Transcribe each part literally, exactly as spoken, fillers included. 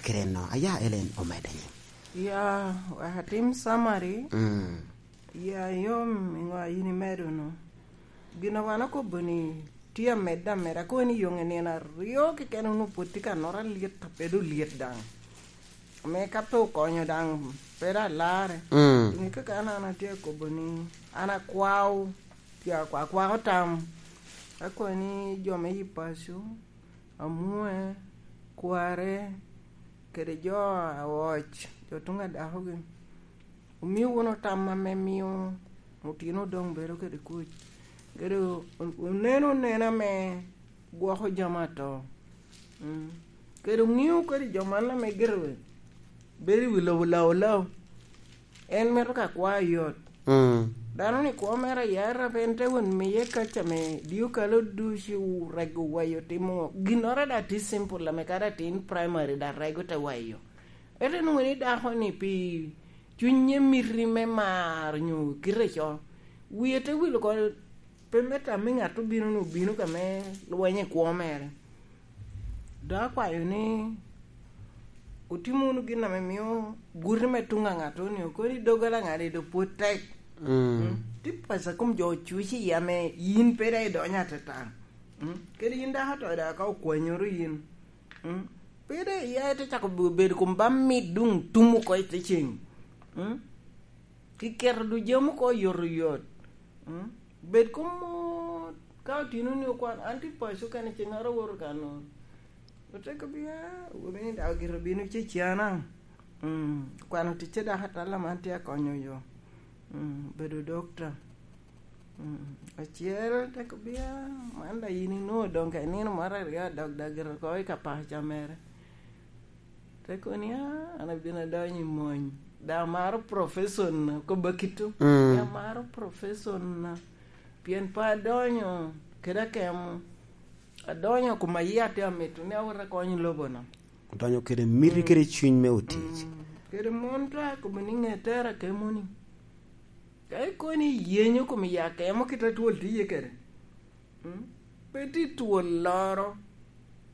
kede no. Aya Ellen omedde ni. Ya, wek atim summary. Mm. Ya, yom, i ŋo a in imedo no? Gin a wan okobo ni tye amedde ameda, kono ni yoŋ i nino aryo keken onwoŋo pwod tye ka noro alyet, a pe doŋ lyet daŋ. Ame ka pe okonyo daŋ, pe doŋ alarre. Mm. Ŋe kaka an, an atye akobo ni, an akwao, tye akwa-, akwako tam. Akwao ni jo me yi paco, amwoe, kware, kede jo a oc, jo tuŋ a dakogi, omio wunu tam ame mio otino doŋ bedo kede kuc, kede o-, oneno nena me gwoko jami ato. Mm. Kede oŋeo kede jo man ame gire bedo i wi lobo lao lao. En mito ka kwa oyot. Mm. Dano ni kwo mere ayara, pe en te won miye kaca me dio kalo ducu, rego wayo, timo ŋo. Ginnoro daŋ tye simple, ame kadi atin primary daŋ rego te wayo. Ento inwoŋo ni dako ni pi cunye miti me mar nyo kite co, wie te wil oko, pe me tam me ŋat obino, nwoŋo obino ka me lweny i kwo mere. Dok akwayo ni otim wunu gin ame mio guti me tuŋ a ŋat-to ni, okoni doggola ŋat-ti doŋ pwod tek. Mm. Mm. Tye paco a kom jo ocuc iye ame yin pe daŋ idonyo atata. Mm. Kadi yin dako to daŋ ka okwanyoro yin. Mm. Pe daŋ iya ite cako be-, bedo kom ba mit doŋ tum oko i te ceng. Mm. Kiketo duk jami oko oyotoyot. Mm. Bed kom mot. Ka otino ni okwan, an tye paco kene, ceŋ ara awoto ka nor. Oteko bia, awobi ni daŋ ogito bino cecana. Mm. Kwano ticce dako atalla man tye akonyo yo. Mm. Bedo dokta. Mm. Acel teko bia, man daŋ yin inwoŋo doŋ ka inino moro aryo adok daŋ gire oko i ka paco mere. Te kono ni, "Ah, an abino adonyo i mony." Daŋ amaro profession-na, kobba kito. Mm. Daŋ amaro profession-na. Pien pe adonyo kede akemo. Adonyo kom a yia tye amito ni awot akony lobo-na. Odonyo kede miti kede cuny me otic. Mm. Kede mon to akobo ni ŋe tera akemo-ni. Ka ikobo ni iyenyo kom i akemo kit a twol tye iye kede. Mm? Pe tye twol loro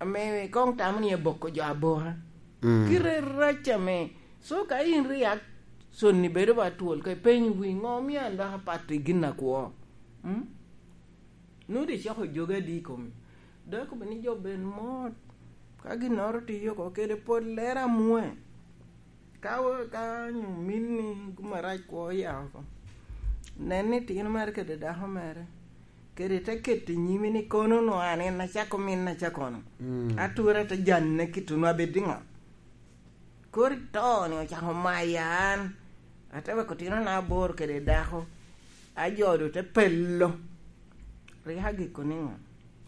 ame koŋ tamo ni eboko jo aboka. Mm. Kite rac ame. So ka in reaction-ni bedo ba twol, ka ipenyo wi, "Ŋo omio an dok apato i gin akwo?" Mm? Nwoŋo doŋ icako jogi adi i komi. Dok okobo ni jo bed mot. Ka ginnoro tiyo oko kede pol lero amwoe. Ka wo-, ka nyo minni gum arac kwo oya oko, nen ni tino mere kede dako mere, kede te keto i nyimi ni kono nwoŋo an en acako minna ca kono. Mm. Atura te janne kit onwoŋo abed i ŋo? Kori to ni ocako maya an, ate weko otinona aboro kede dako, ajodo te pelo. Rik agiko niŋo?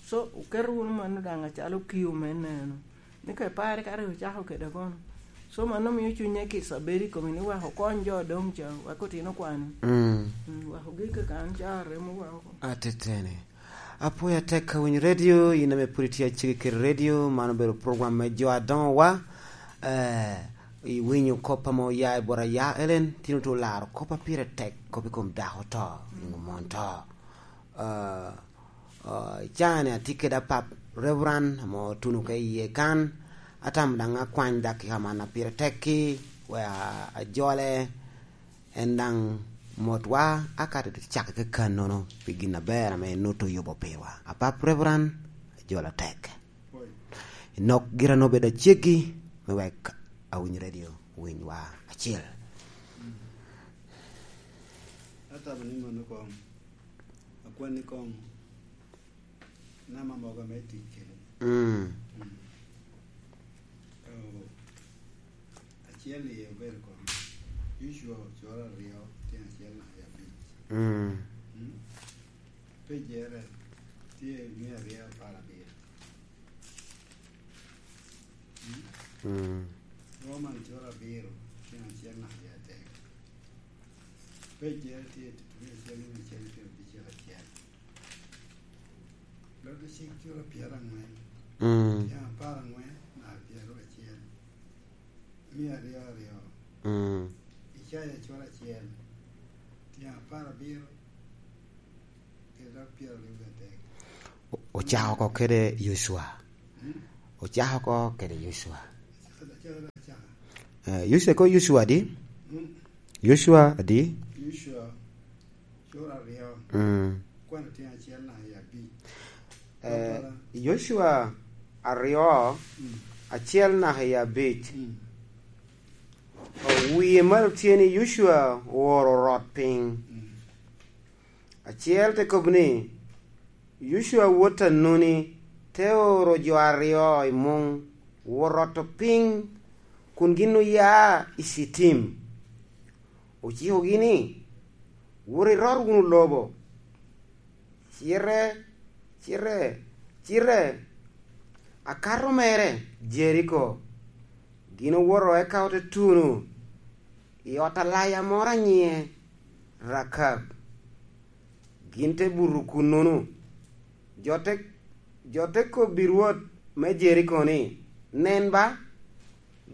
So, oketo wunu mano daŋ acalo kiu me neno. Ni ka ipare ka rik ocako kede kono. So, mano mio cunye kica bedo i komi ni wek okony jo doŋ ca, wek otino kwani. Mm. Mm, wek ogik kaka an ca aremo wa oko. Ateteni. Apwoyo atek ka winyo redio, in ame pwod itye acegi kede redio, man obedo program me jo adoŋowa. Eh, iwinyo kop ame oya i bot aya Ellen, tin otu olaro kop a pire tek, kop i kom dako to, i kom mon to. Ah, ah, icaŋ ni atye kede apap Reverend ame otuno ka iye kan, atamo daŋ akwany dakika man a pire tek-ki, wek a-, ajole, en daŋ motwa, akato cakki kakannono pi gin aber ame en oto yubo pirwa. Apap Reverend, ajole atek. Inok gira nobed aceggi, me wek awiny redio, winywa acel. Atamo ni mano koŋ, akwan ni koŋ, nama mogo ame tic kede. Mm. Mm. Oh, acel i obedo koŋ, usual coro aryo, tyen acel naka i abic. Mm. Mm. Pejere tye mia aryo apar abiro. Mm. Mm. Roman cura abiro, tyen acel naka i adek. Pejere tye i tutuki acel, nino acel, tyen abicel acel. Lwak Cik cura pyerangwen, mm, tyen apar angwen naka pyeraryo acel. Mia aryo aryo. Mm. Icaya cura acel, tyen apar abiro, kede dok pyeraryo adek. O-, ocako oko kede Yocwa. Hmm? Ocako oko kede Yocwa. Ocako, ocako Eh, Yosua, ko Yosua adi? Mm. Yosua adi? Yosua, cura aryo. Mm. Kwano tyen acel naka i abic. Eh, Yosua aryo, mm, acel naka i abic. Mm. Owie malo tye ni Yosua ooro orot piny. Mm. Acel te kobo ni, Yocua wot a Nuni te oro jo aryo i muŋ, wot roto piny, kun gin oya i Citim. Ocikogi ni, "Wot irot wunu lobo." Cite, cite, cite, akato mere, Jeriko. Gin owoto eka ote tuno i ot alaya moro a nyiŋe Rakab. Gin te buto kunnono. Jo te, jo te kobbi rwot me Jeriko ni, "Nen ba,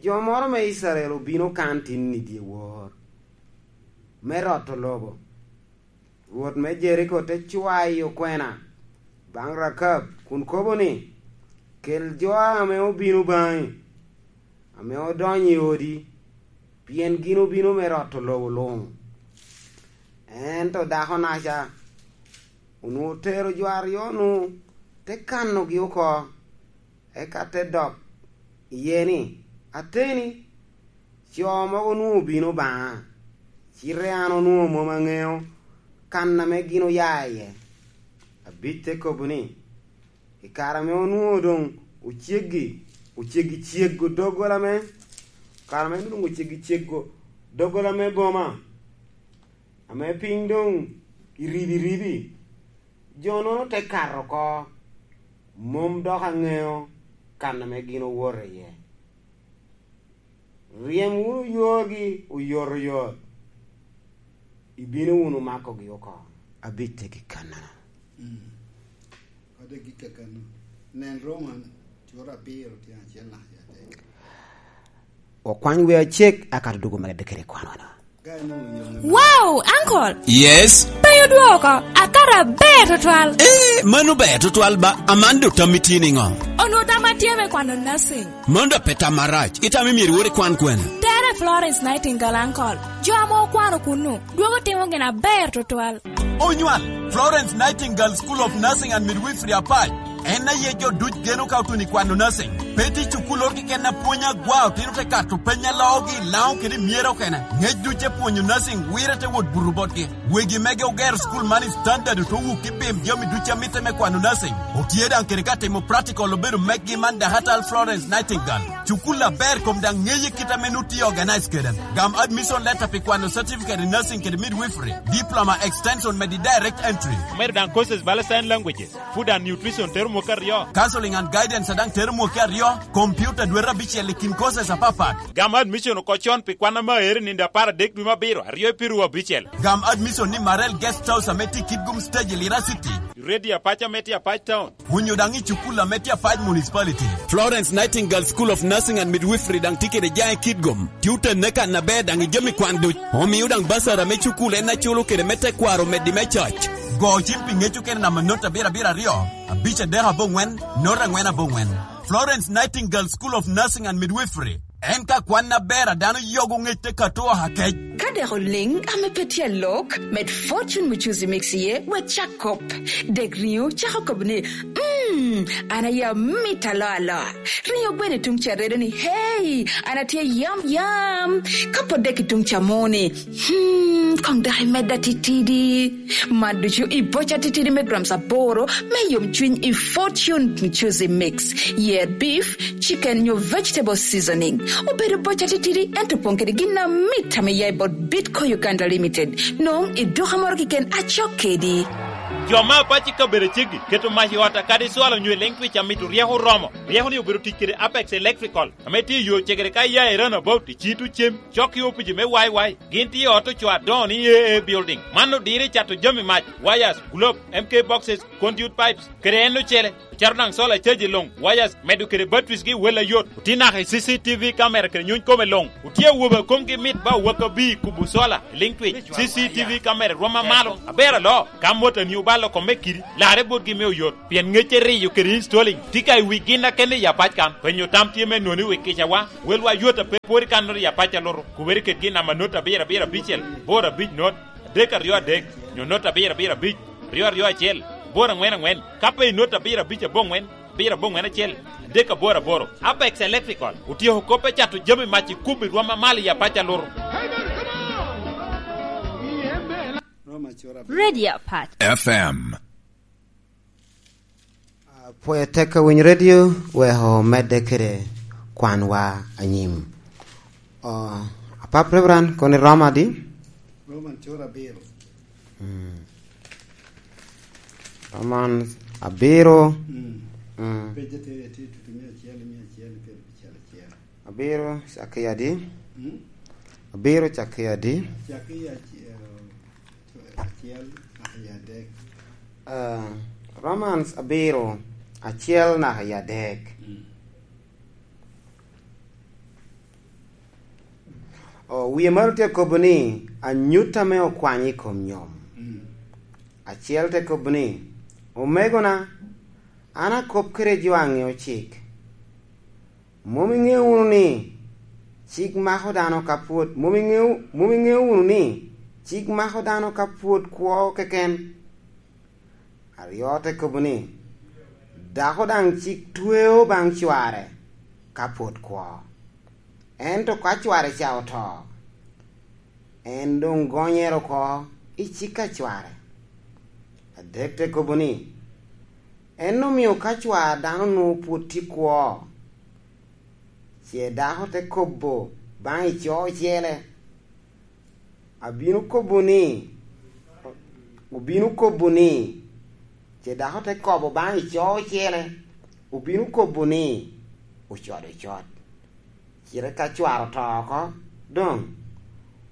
jo moro me Icrael obino kan tin i dyewor me roto lobo." Rwot me Jeriko te cwayo kwena baŋ Rakab kun kobo ni, "Kel jo ame obino baŋi, ame odonyo i odi, pien gin obino me roto lobo luŋ." Ento dako-naca onwoŋo otero jo aryo-nu, te kanogi oko, eka te dok iye ni, "Ateni, co mogo onwoŋo obino baŋa, cite an onwoŋo mom aŋeo kan ame gin oya iye." Abic te kobo ni, "I kare ame onwoŋo doŋ oceggi, oceggi cego doggola me, kare ame doŋ oceggi cego doggola me boma, ame piny doŋ iribi ribi, jo-nono te kato oko, mom dok aŋeo kan ame gin owoto iye. Ryem wunu yorgi oyotoyot, ibino wunu makogi oko." Abic te gik kannono. Mm. Ode gik kakano. Nen Roma, cura abiro, tyen acel naka i adek. Okwany wer acek, aka to dwogo medde kede kwanwa-no. Wow, uncle! Yes? Pe odwoko, akato aber tutwal. Eh, mano ber tutwal ba, Amando, tammi tye niŋo? Onwoŋo tamma tye me kwano nursing. Mano daŋ pe tam arac, itamo myero iwot ikwan kwene? Tere Florence Nightingale, uncle. Jo ame okwano kunnu, dwogo timo gin aber tutwal. Onywal, Florence Nightingale School of Nursing and Midwifery Apac. En aye jo duc geno ka otuno i kwano nursing. Pe tye cukul oro keken a pwonyo agwa, otino te kato peny a loogi i Laŋo kede i Myero kene. Ŋec duc te pwonyo nursing, wire te wot buto botgi. Wegi mege ogero cukul man i standard, ote wuki bim jami duc a mitte me kwano nursing. Otye daŋ kede ka timo practical obedo meggi man Dahatal Florence Nightingale. Cukul aber kom daŋ ŋeye kit ame nut tye organize kede. Gam admission letter pi kwano certificate in nursing kede midwifery, diploma extension medi direct entry. Omedo daŋ courses bala sign languages, food and nutrition tero mwaka aryo. Counseling and guidance a daŋ tero mwaka aryo, computer dwete abicel i kin courses apapat. Gam admission oko con pi kwan ame aere nino apar adek dwe me abiro, aryo i piru abicel. Gam admission ni Marel Guest House ame tye i Kitgum Stage i Lira City. Ready Apac ame tye Apac Town. Onyo daŋ i cukul ame tye Apac Municipality. Florence Nightingale School of Nursing and Midwifery daŋ tye kede jaŋ i Kitgum. Tye otenne kan aber daŋ i jami kwan duc. Omio daŋ basara me cukul en aculo kede me tekwaro meddi me coc. Go cim pi ŋec okene namba not abiro abiro aryo, abic adek aboŋwen, not angwen aboŋwen. Florence Nightingale School of Nursing and Midwifery. En ka kwan aber a dano yogo ŋec te kato oha kec. Ka dek oliŋ ame pe tye alok, med Fortune Mucuzi Mix iye, wek cak kop. Dek riŋo cako kobo ni, "Mm, an aye amito aloa aloa." Riŋo gweno i tuŋ ca redo ni, "Hey, an atye yam yam." Ka pwod dek i tuŋ ca moni, "Hmm, koŋ dok imedda titidi." Man ducu i boca titidi me grams aboro me yomcwiny i Fortune Mucuzi Mix. Yer beef, chicken nyo vegetable seasoning. Obedo boca titidi, ento opoŋ kede gin amit ame ya i bot Bitco Uganda Limited. Nong i duka moro keken acok kedi. Jo me Apac i kabedo aceggi keto mac i ot a kadi cwalo nyo electric amito ryeko oromo. Ryeko ni obedo tic kede Apex Electrical, ame tye i yo cegere ka iya i Roundabout, i Citu Cem, cok i opici me Y Y. Gin tye i ot ocoo adoŋo ni A A Building. Man odiro i cato jami mac, wires, globe, M K boxes, conduit pipes, kede en ocele. Caro daŋ sola caji luŋ, wires, medo kede batteries gi wel ayot. Otye naka i C C T V camera kede nyuny kome luŋ. Otye awobe a komgi mit ba owaka bi kubo sola, liŋ twic. C C T V camera rwom amalo, aber aloo. Ka motoni obalo kome kidi, larre botgi me oyot. Pien ŋecce riyo kede installing tye ka i wi gin akene i apac kan. Penyo tam tye me nwoŋo i wi kicawa. Welwa yot a pe pwod i kannoro i apac a lutu. Kubere kedgi i namba not abiro abiro abicel, boro abic not, adek aryo adek, nyo not abiro abiro abic, ryo aryo acel, boro aŋwen aŋwen. Ka pe i not abiro abic aboŋwen, abiro aboŋwen acel, adek aboro aboro. Apex Electrical otyeko kop me cato jami mac i kubbi rwom amalo i apac a lutu. Radio Apac. F M. Apwoyo tek ka winyo redio, weko medde kede kwanwa anyim. O, apap Reverend, kono iromo adi? Roman cura abiro. Mm. Roman abiro. Mm. Mm. Pejje tere tye tutu mia acel, mia acel, pyerabicel acel. Abiro cakke adi? Mm. Abiro cakke adi? Cakke acel, acel, naka i adek. Ah, Romans abiro, acel naka i adek. Mm. O, wie malo tye kobo ni, anyut ame okwany i kom nyom. Mm. Acel te kobo ni, "Omegona, an akop kede jo a ŋeo cik. Mom iŋeo wunu ni cik mako dano ka pwod, mom iŋeo, mom iŋeo wunu ni cik mako dano ka pwod kwo keken?" Aryo te kobo ni, "Dako daŋ cik tweo baŋ cware ka pwod kwo. Ento ka cware ca oto, en doŋ gonyere oko i cik a cware." Adek te kobo ni, "En omio ka cwar dano nwoŋo pwod tye kwo, ce dako te kobo baŋ i co ocele, 'Abino kobo ni, obino kobo ni,' ce dako te kobo baŋ i co ocele, obino kobo ni, 'Ocodo ocot.' Cite ka cwar oto oko, doŋ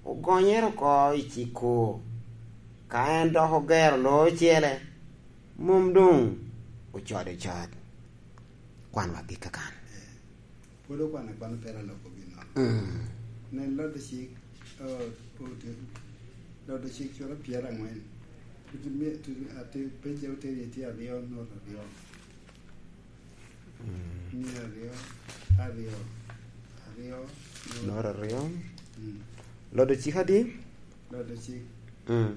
ogonyere oko i cik-ku. Ka en dok ogero lo ocele, mom doŋ ocodo ocot." Kwanwa gik kakan. Pwod okwano akwano, pe aloko ginnoro. Mm. Nen, lodo cik, o, o, lodo cik cura pyeraŋwen. Tutu mi-, tutu ati pece oteri tye aryo, not aryo. Mm. Mia aryo, aryo, aryo, not. Not aryo. Mm. Lodo cik adi? Lodo cik. Mm.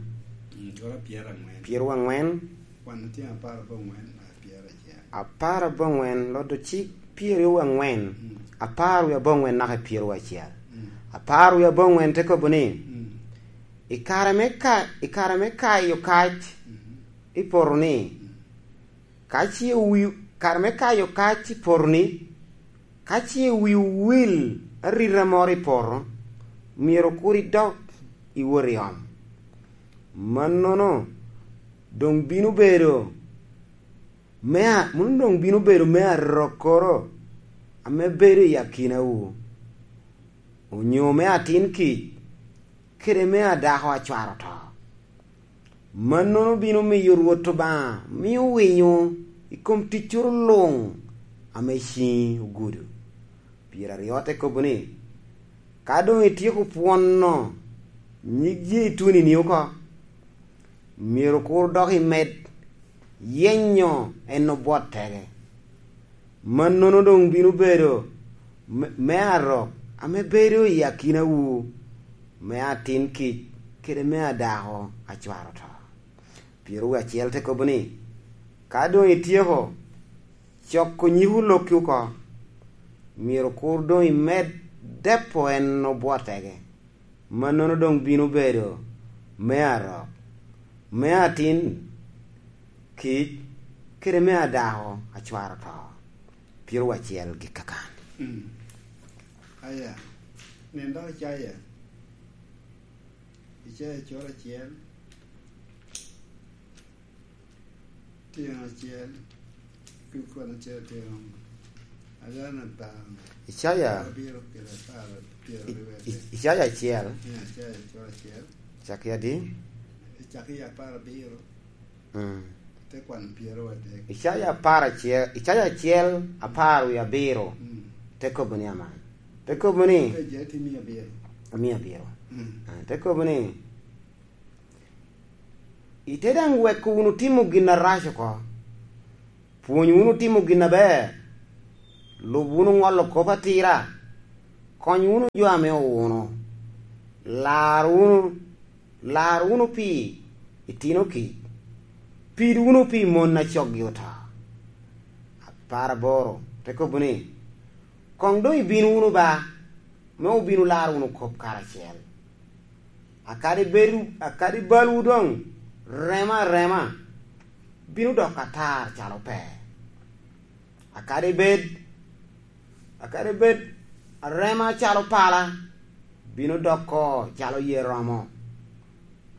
Mm, cura pyeraŋwen. Pyerwaŋwen. Wan otye apar aboŋwen, naka pyeracel. Apar aboŋwen, lodo cik pyerwaŋwen. Mm. Apar wie aboŋwen naka pyeracel. Mm. Apar wie aboŋwen te kobo ni, mm, i kare me ka-, i kare me kayo kac, mm, i poto-ni, mm, ka ce wi-, kare me kayo kac i poto-ni, ka ce wi owil arita moro i poto, myero kur idok iwot i om. Mannono doŋ bino bedo me a-, mano doŋ bino bedo me arokkoro ame bedo i akinawu, onyo me atin kic, kede me adako a cware oto. Mannono bino miyo Rwot Obaŋa mio winyo i kom ticcoro luŋ ame ciŋi ogudo. Pyeraryo te kobo ni, ka doŋ ityeko pwono nyig jeituni-ni oko, myero kur dok imed yenyo en obwot tege. Mannono doŋ bino bedo me, me arok ame bedo i akinawu, me atin kic kede me adako a cware oto. Pyeraryo acel te kobo ni, ka doŋ ityeko coko nyiko lokki oko, myero kur doŋ imed depo en obwot tege. Mannono doŋ bino bedo me arok, me atin kic, kede me adako a cware oto. Pyeraryo acel gik kakan. Mm. Aya, nen dok Icaya. Icaya cura acel. Tyen acel, pi kwon acel tyen, agana apar. Icaya. Abiro kede apar, pyeraryo I-, wete. I-, Icaya acel. Icaya cura acel. Cak i adi? Cak i apar abiro. Mm. Te kwano pyero adek. Icaya apar acel, Icaya acel, apar wie abiro. Mm. Te kobo ni aman. Te kobo ni, Icaya tye mia abiro. Mia abiro. Mm. Ah, te kobo ni, "Ite daŋ weko wunu timo gin arac oko. Pwony wunu timo gin aber. Lub wunu ŋolo kop atira. Kony wunu jo ame owuno. Lar wunu, lar wunu pi itino kic. Pid wunu pi mon a coggi oto." Apar aboro te kobo ni, "Koŋ doŋ ibin wunu ba, me obin olar wunu kop karacel. Akadi bed, akadi balwu doŋ rema arema, bino doko atar calo per. Akadi bed, akadi bed arema calo pala, bino doko calo ye romo."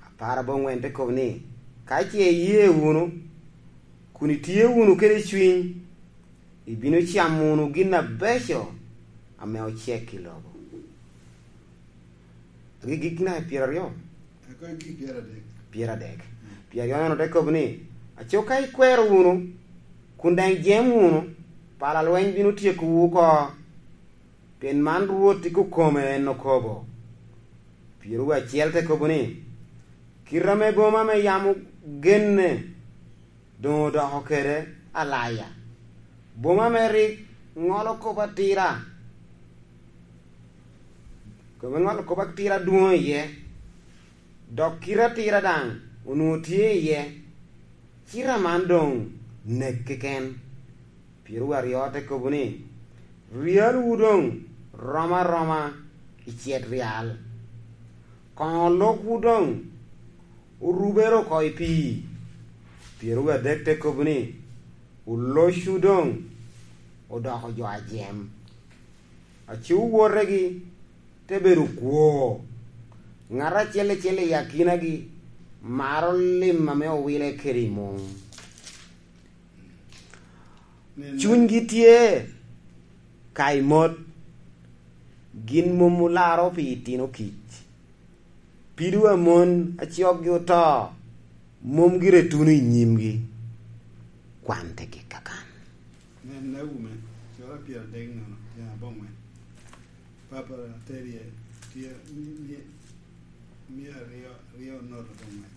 Apar aboŋwen te kobo ni, "Ka ce iye wunu, kun itye wunu kede cwiny, ibino camo wunu gin abeco ame ocek i lobo." Agikgik naka pyeraryo? Akobo gik pyeraryo. Pyeraryo. Pyeraryo nono te kobo ni, "Aco ka ikwero wunu, kun daŋ ijem wunu, pala lweny bino tyekowu oko, pien man Rwot i kokome en okobo." Pyeraryo acel te kobo ni, "Kite ame boma ame yam ogenne doŋ odoko kede alaya, boma ame rik ŋolo kop atira, kome ŋolo kop atira adwoŋ iye, dok kite atira daŋ onwoŋo tye iye, cite aman doŋ nek keken." Pyeraryo aryo te kobo ni, "Ryalwu doŋ rom aroma i cet ryal, koŋo lokwu doŋ orubere oko i pii." Pyeraryo adek te kobo ni, "Olocwu doŋ odoko jo ajem, aco wotegi te bedo kwo, ŋat acel acel i akinagi maro lim ame owile kede i muŋ. Cunygi tye ka i mot, gin mom olaro pi itino kic. Pido a mon a coggi oto mom gire tuno i nyimgi." Kwan te gik kakan. Nen, Naomi, cura pyeradek nono, tyen aboŋwen. Papa Terie tye mi-, mi-, mia aryo, aryo nota aboŋwen.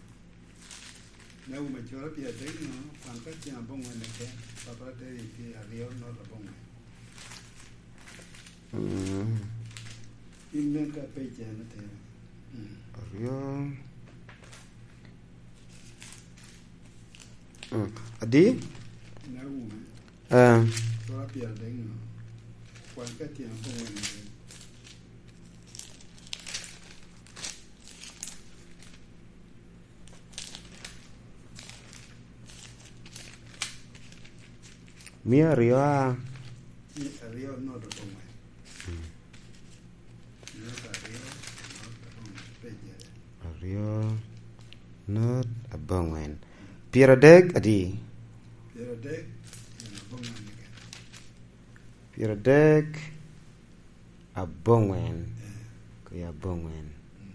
Naomi, cura pyeradek nono, kwan ka tyen aboŋwen keken, Papa Terie tye aryo nota aboŋwen. Mm. In nen ka page en atera. Mm. Aryo. Mm. Adi? Naomi. Eh. Sura pyeradek no. Kwan ka tyen aboŋwen. Mia aryo a? Mia aryo nota aboŋwen. Mm. Nota aryo, nota aboŋwen, pejere. Aryo, nota aboŋwen. Pyeradek adi? Pyeradek, pyeradek aboŋwen keken. Pyeradek aboŋwen. Eh. Kaya aboŋwen. Mm.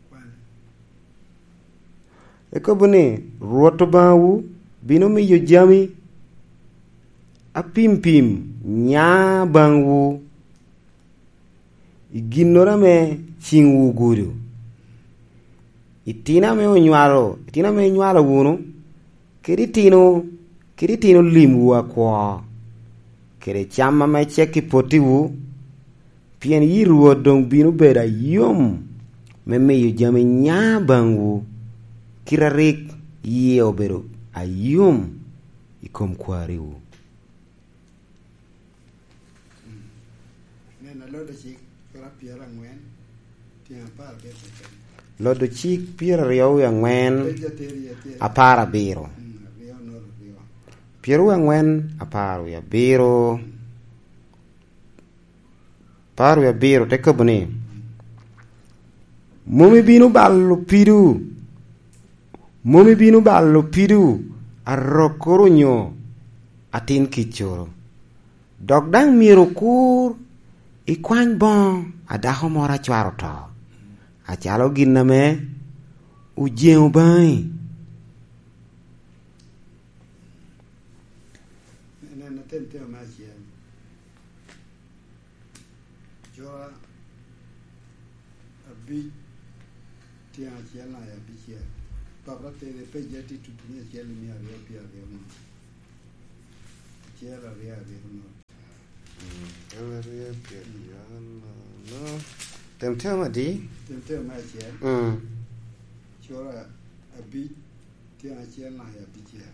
Kwane. Ekobo ni, "Rwot Obaŋawu bino miyo jami apimpim nya baŋwu i ginnoro ame ciŋwu ogudo. Itino ame onywalo, itino ame inywalo wunu, kede itino, kede itino limwu akwo, kede cam ame cek i pottiwu, pien yi Rwot doŋ bino bedo ayom me miyo jami nya baŋwu, kite a rik yie obedo ayom i kom kwariwu." Nen, Lodo Cik, sura pyeraŋwen, tyen apar abiro keken. Lodo Cik pyeraryo wie aŋwen, Page ateri, ateri. Apar abiro. Mm, aryo nota aryo. Pyeraryo wie aŋwen, apar wie abiro. Mm. Apar wie abiro te kobo ni, "Mom ibino balo pido, mom ibino balo pido arokkoro onyo atin kiccoro. Dok daŋ myero okur ikwany boŋo a dako moro a cware oto, acalo gin ame Ojeŋo baŋi. Nen atem teo me acel. Cura abic, tyen acel naka i abicel. Papa tere pejja tye tutumia acel i mia aryo pye aryo no. Acel aryo aryo no. Mm, en aryo pye aryo no. Tem teo me adi? Tem teo me acel. Mm. Cura abic, tyen acel naka i abicel.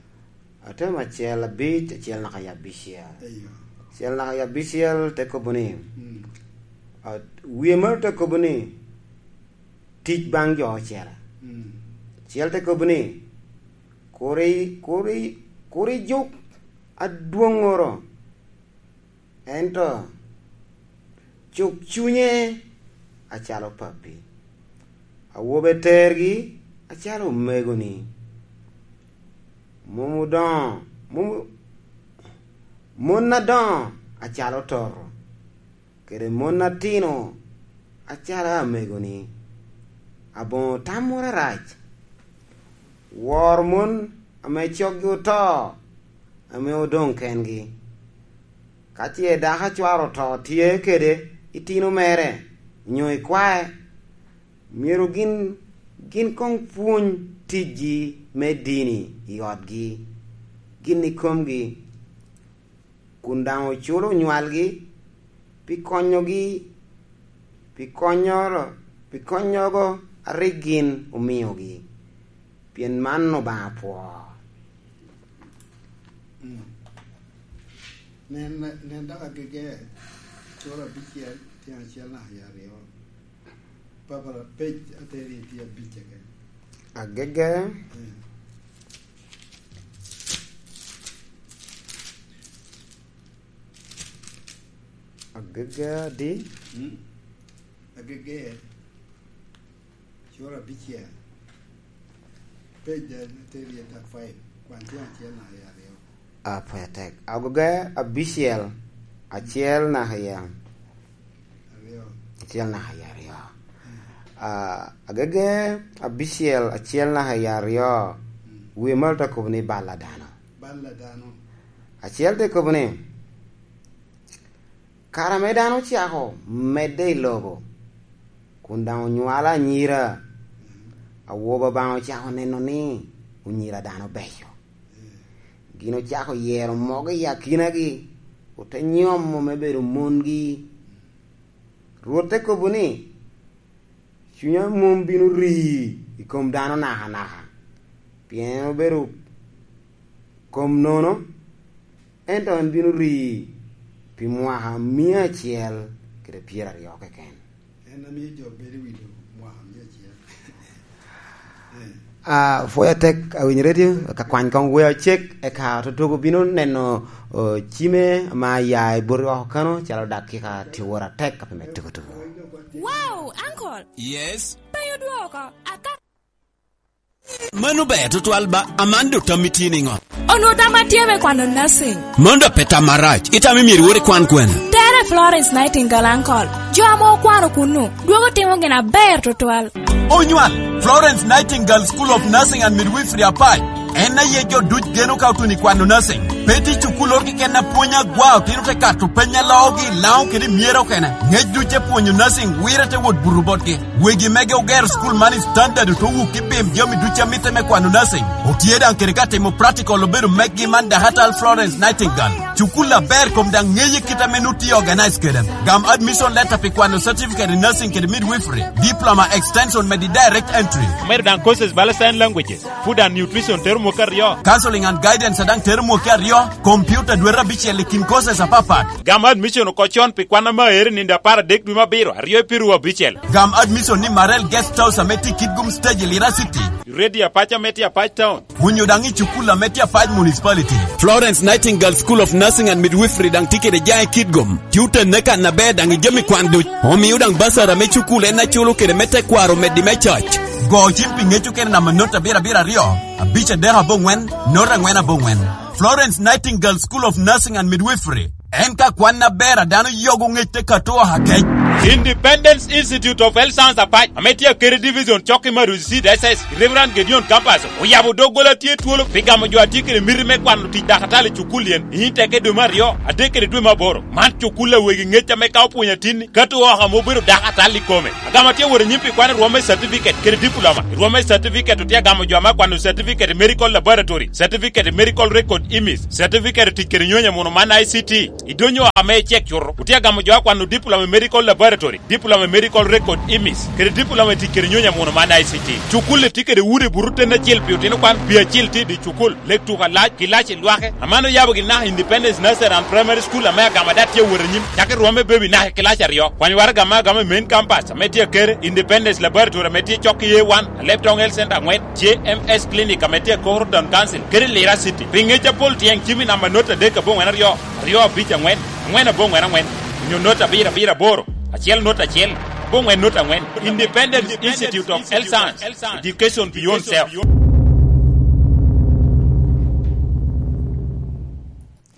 Atem acel abic, acel naka i abicel. Eyo. Acel naka i abicel te kobo ni, mm, a, wie maro te kobo ni, tic baŋ jo ocele. Mm. Acel te kobo ni, kur i-, kur i-, kur ijuk adwoŋŋoro. Ento cuk cunye acalo pappi, awobe tergi acalo omegoni. Mom odoŋo, mom, mon adoŋo acalo toto, kede mon atino acalo amegoni. Aboŋo tammoro arac. Woro mon ame coggi oto, ame odoŋ kengi. Ka ce dako a cware oto tye kede itino mere, onyo ikwae, myero gin, gin koŋ pwony ticgi me dini i otgi, gin ikomgi, kun daŋ oculo onywalgi pi konyogi, pi konyoro, pi konyogo a rik gin omiogi, pien man Obaŋa pwoo. Mm. Nen, nen dok agege, cura abicel, tyen acel naka i aryo. Papa, page ateri tye abic keken. Agege. Eh. Agege adi? Mm. Agege. Cura abicel. Page ateri thirty-five. Kwan tyen acel naka i aryo. Apwony atek. Agege abicel, acel naka i aryo. Acel naka i aryo. Ah, agege abicel, acel naka i aryo. Mm. Wie malo te kobo ni bal a dano. Bal a dano. Acel te kobo ni, kare ame dano ocako medde i lobo, kun daŋ onywalo anyira, mm, awobe Obaŋa ocako neno ni onyira dano beco. Mm. Gin ocako yero mogo i akinagi, ote nyomo me bedo mongi. Rwot te kobo ni, cunya mom bino ri i kom dano nakanaka, pien en obedo kom nono, ento en bino ri pi mwaka mia acel kede pyeraryo keken. En a mio jo bedo i wi lobo mwaka mia acel. Eh. Ah, pwony atek, awinyo redio, ka kwany kong wea cek, eka tutugo bino neno, oh, cime ma ya i boti oko kano, calo dakika tye woro atek, ka pe me tuko tuko. Wow, uncle! Yes? Pe odwoko, aka- Mano ber tutwal ba, aman dok tam itye niŋo? Onwoŋo tam atye me kwano nursing. Mano dok pe tam marac. Itamo myero iwot ikwan kwene? Tere Florence Nightingale, uncle. Jo ame okwano kunnu, dwogo timo gin aber tutwal. Onywal, Florence Nightingale School of Nursing and Midwifery Apac. En aye jo duc geno ka otuno i kwano nursing. Pe tye cukulloro keken a pwonyo agwa, otino te kato peny a loogi i Laŋo kede i Myero okene. Ŋec duc te pwonyo nursing, wire te wot buto botgi. Wegi mege ogero cukul man i standard oto wuk i pim jami duc a mitte me kwano nursing. Otye daŋ kede ka timo practical obedo meggi man dakatal Florence Nightingale. Cukul aber kom daŋ ŋeye kit ame nut tye organize kede. Gam admission letter pi kwano certificate in nursing kede midwifery, diploma extension medi direct entry. Omedo daŋ courses bala sign languages, food and nutrition tero mwaka aryo. Counseling and guidance a daŋ tero mwaka aryo, computer dwete abicel i kin courses apapat. Gam admission oko con pi kwan ame aero i nino apar adek dwe me abiro, aryo i piru abicel. Gam admission ni Marel Guest House ame tye i Kitgum Stage i Lira City. Radio Apac ame tye Apac Town. Onyo daŋ i cukul ame tye Apac Municipality. Florence Nightingale School of Nursing and Midwifery daŋ tye kede jaŋ i Kitgum. Tye otenne kan aber daŋ i jami kwan duc. Omio daŋ basara me cukul en aculo kede me tekwaro meddi me coc. Go cim pi ŋec okene namba not abiro abiro aryo, abic adek aboŋwen, not angwen aboŋwen. Florence Nightingale School of Nursing and Midwifery. En ka kwan aber a dano yogo ŋec te kato oha kec. Independence Institute of Health Science Apac, ame tye Akere Division, cok i Maruzi Seed S S, Reverend Gideon Campus, oyabo doggola tye twolo pi gamo jo a tye kede miti me kwano tic dakatali i cukul yen, i teke dwe me aryo, adek kede dwe me aboro. Man cukul a wegi ŋec ame ka opwonyo atinni, ka to oko ame obedo dakatali i kome. Agamo tye wot anyim pi kwano rwom me certificate kede diploma. Rwom me certificate otye agamo jo ame akwano certificate i medical laboratory, certificate i medical record image, certificate tic kede nyonyo muno man I C T. Idonyo ame icek cuto, otye agamo jo akwano diploma i medical laboratory, diploma i medical record image, kede diploma i tic kede nyonyo muno man I C T. Cukul-li tye kede udi buto ten acel pi otino kwan, pi acel tye i dye cukul, lek tuko alac, kilaci lwake. Aman oyabogi naka Independence Nursery and Primary School ame agamo ada tye awot anyim, cako i rwom me baby naka i kilaci aryo. Kwany waraga ame agamo i main campus ame tye Akere, Independence Laboratory ame tye cok i A one, Alebtong Health Center angwen, J M S Clinic ame tye Akoro Town Council, kede Lira City. Pi ŋec apol tyeng cim i namba not adek aboŋwen aryo, aryo abic angwen, angwen aboŋwen angwen, onyo not abiro abiro aboro, acel not acel, aboŋwen not angwen. Independence Institute of Health Science, Education Beyond Self.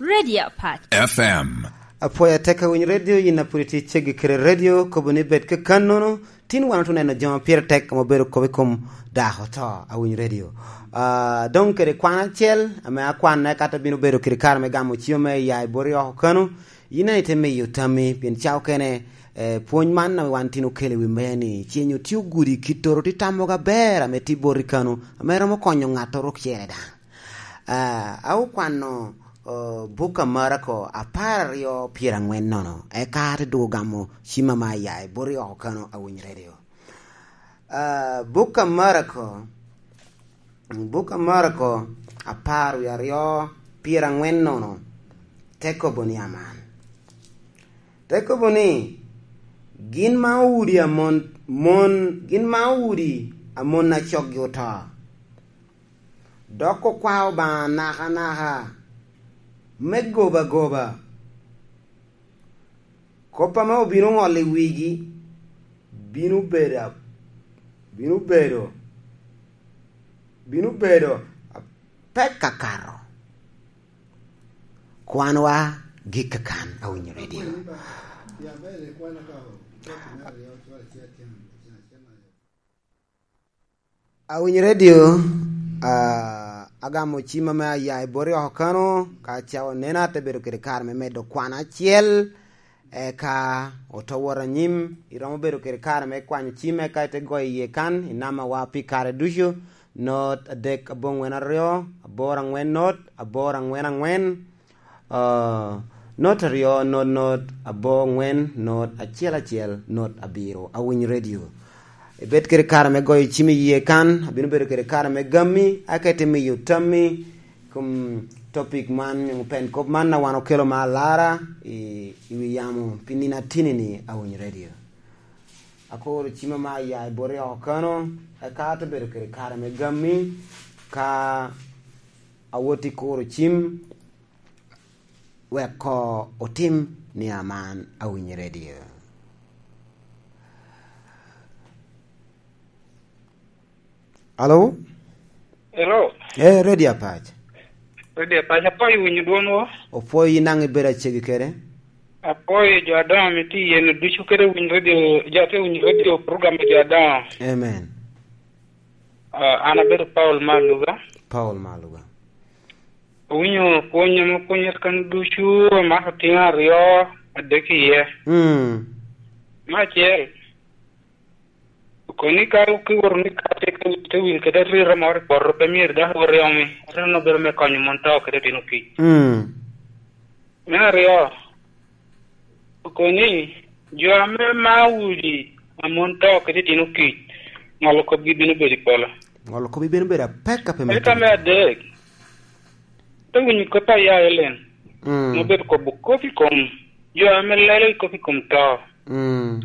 Radio Apac. F M. Apwoyo atek awiny radio, yin a pwod itye ceggi kede radio, kobo ni bed kakannono, tin wan otye neno jo ma pire tek ame obedo kop i kom dako oto, awiny radio. Ah, doŋ kede kwan acel, ame akwanne kato bino bedo kede kare me gamo cim me ya i bot i oko kano, yin a ite miyo tammi, pien ca okene, eh, pwony man ame wan tin okelo i wi mea ni, ce nyo tye ogudi kittoro tye tammogo aber ame tye bot i kano, ame romo konyo ŋattoro ocele daŋ. Ah, a okwano, oh, buk a Marako apar aryo pyerangwen nono, eka ate dwogo gamo cim ame aya i bot i oko kano awiny radio. Ah, buk a Marako, buk a Marako apar wie aryo pyerangwen nono, te kobo ni aman. Te kobo ni, gin ma owudi a mon, mon, gin ma owudi a mon a coggi oto, dok okwao Obaŋa nakanaka me goba agoba. Kop ame obino ŋolo i wigi bino bedo a-, bino bedo, bino bedo apek akato. Kwanwa gik kakan, awinyo radio. Awinyo radio, ah, agamo cim ame aya i bot i oko kano, ka ca onena ate bedo kede kare me medo kwan acel, eka oto wot anyim, iromo bedo kede kare me kwanyo cim, eka ite goyo iye kan, inamawa pi kare ducu, not adek aboŋwen aryo, aboro aŋwen not, aboro aŋwen aŋwen, Ah, not aryo, not, not, abor ŋwen, not acel acel, not abiro. Awiny radio. Ibed kede kare me goyo cim i yie kan, abino bedo kede kare me gammi, aka ite miyo tammi, kom topic man, nyo pen kop man a wan okelo me alara i, i wi yamo, pi nino atini-ni, awiny radio. Akuro cim ame aya i bot i oko kano, eka ate bedo kede kare me gammi, ka awot i kuro cim, wek ko otim ni aman awinyo radio. Alo? Hello? Eh, Radio Apac. Radio Apac, apwoyo winyo dwonwu. Opwoyo yin daŋ ibedo acegi kede. Apwoyo jo adoŋo ame tye i yeno ducu kede winyo radio, jo ame winyo radio program me jo adoŋo. Amen. Ah, an abedo Paul Maluga. Paul Maluga. Owinyo pwony ame opwonyere kan ducu, amako tiŋ aryo, adek iye. Mm. Me acel, okoni ka kiwoto ni ka te, te wil kede arira moro i poto, pe myero dok iwot i omi. Arira-nu bedo me konyo mon to kede otino kic. Mm. Me aryo, okoni jo ame mao udi a mon to kede itino kic, ŋolo kopgi bino bedo i polo. Ŋolo kopgi bino bedo apek a pe me. Eka me adek, te winyo kop a ya Elen, mm, ma obedo kobo kop i kom jo ame lelo i kop i kom to. Mm.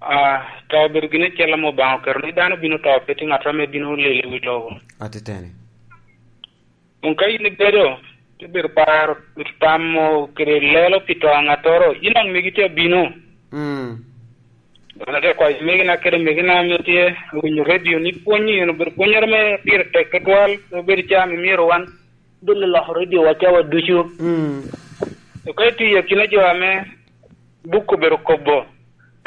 Ah, to obedo gin acel ame Obaŋa oketo ni dano bino to, pe tye ŋat ame bino lelo i wi lobo. Atiteni. Kun ka in ibedo, ibedo paro, tamo kede lelo pi to a ŋattoro, in daŋ megi tye abino. Mm. An ate kwayo megina kede megina ame tye awinyo redio ni pwonyi, en obedo pwonnyere me pire tek tutwal, obedo ca ame myero wan dul loko rediowa cawa ducu. Mm. To ka itiyo i akina jo ame buk obedo kobo,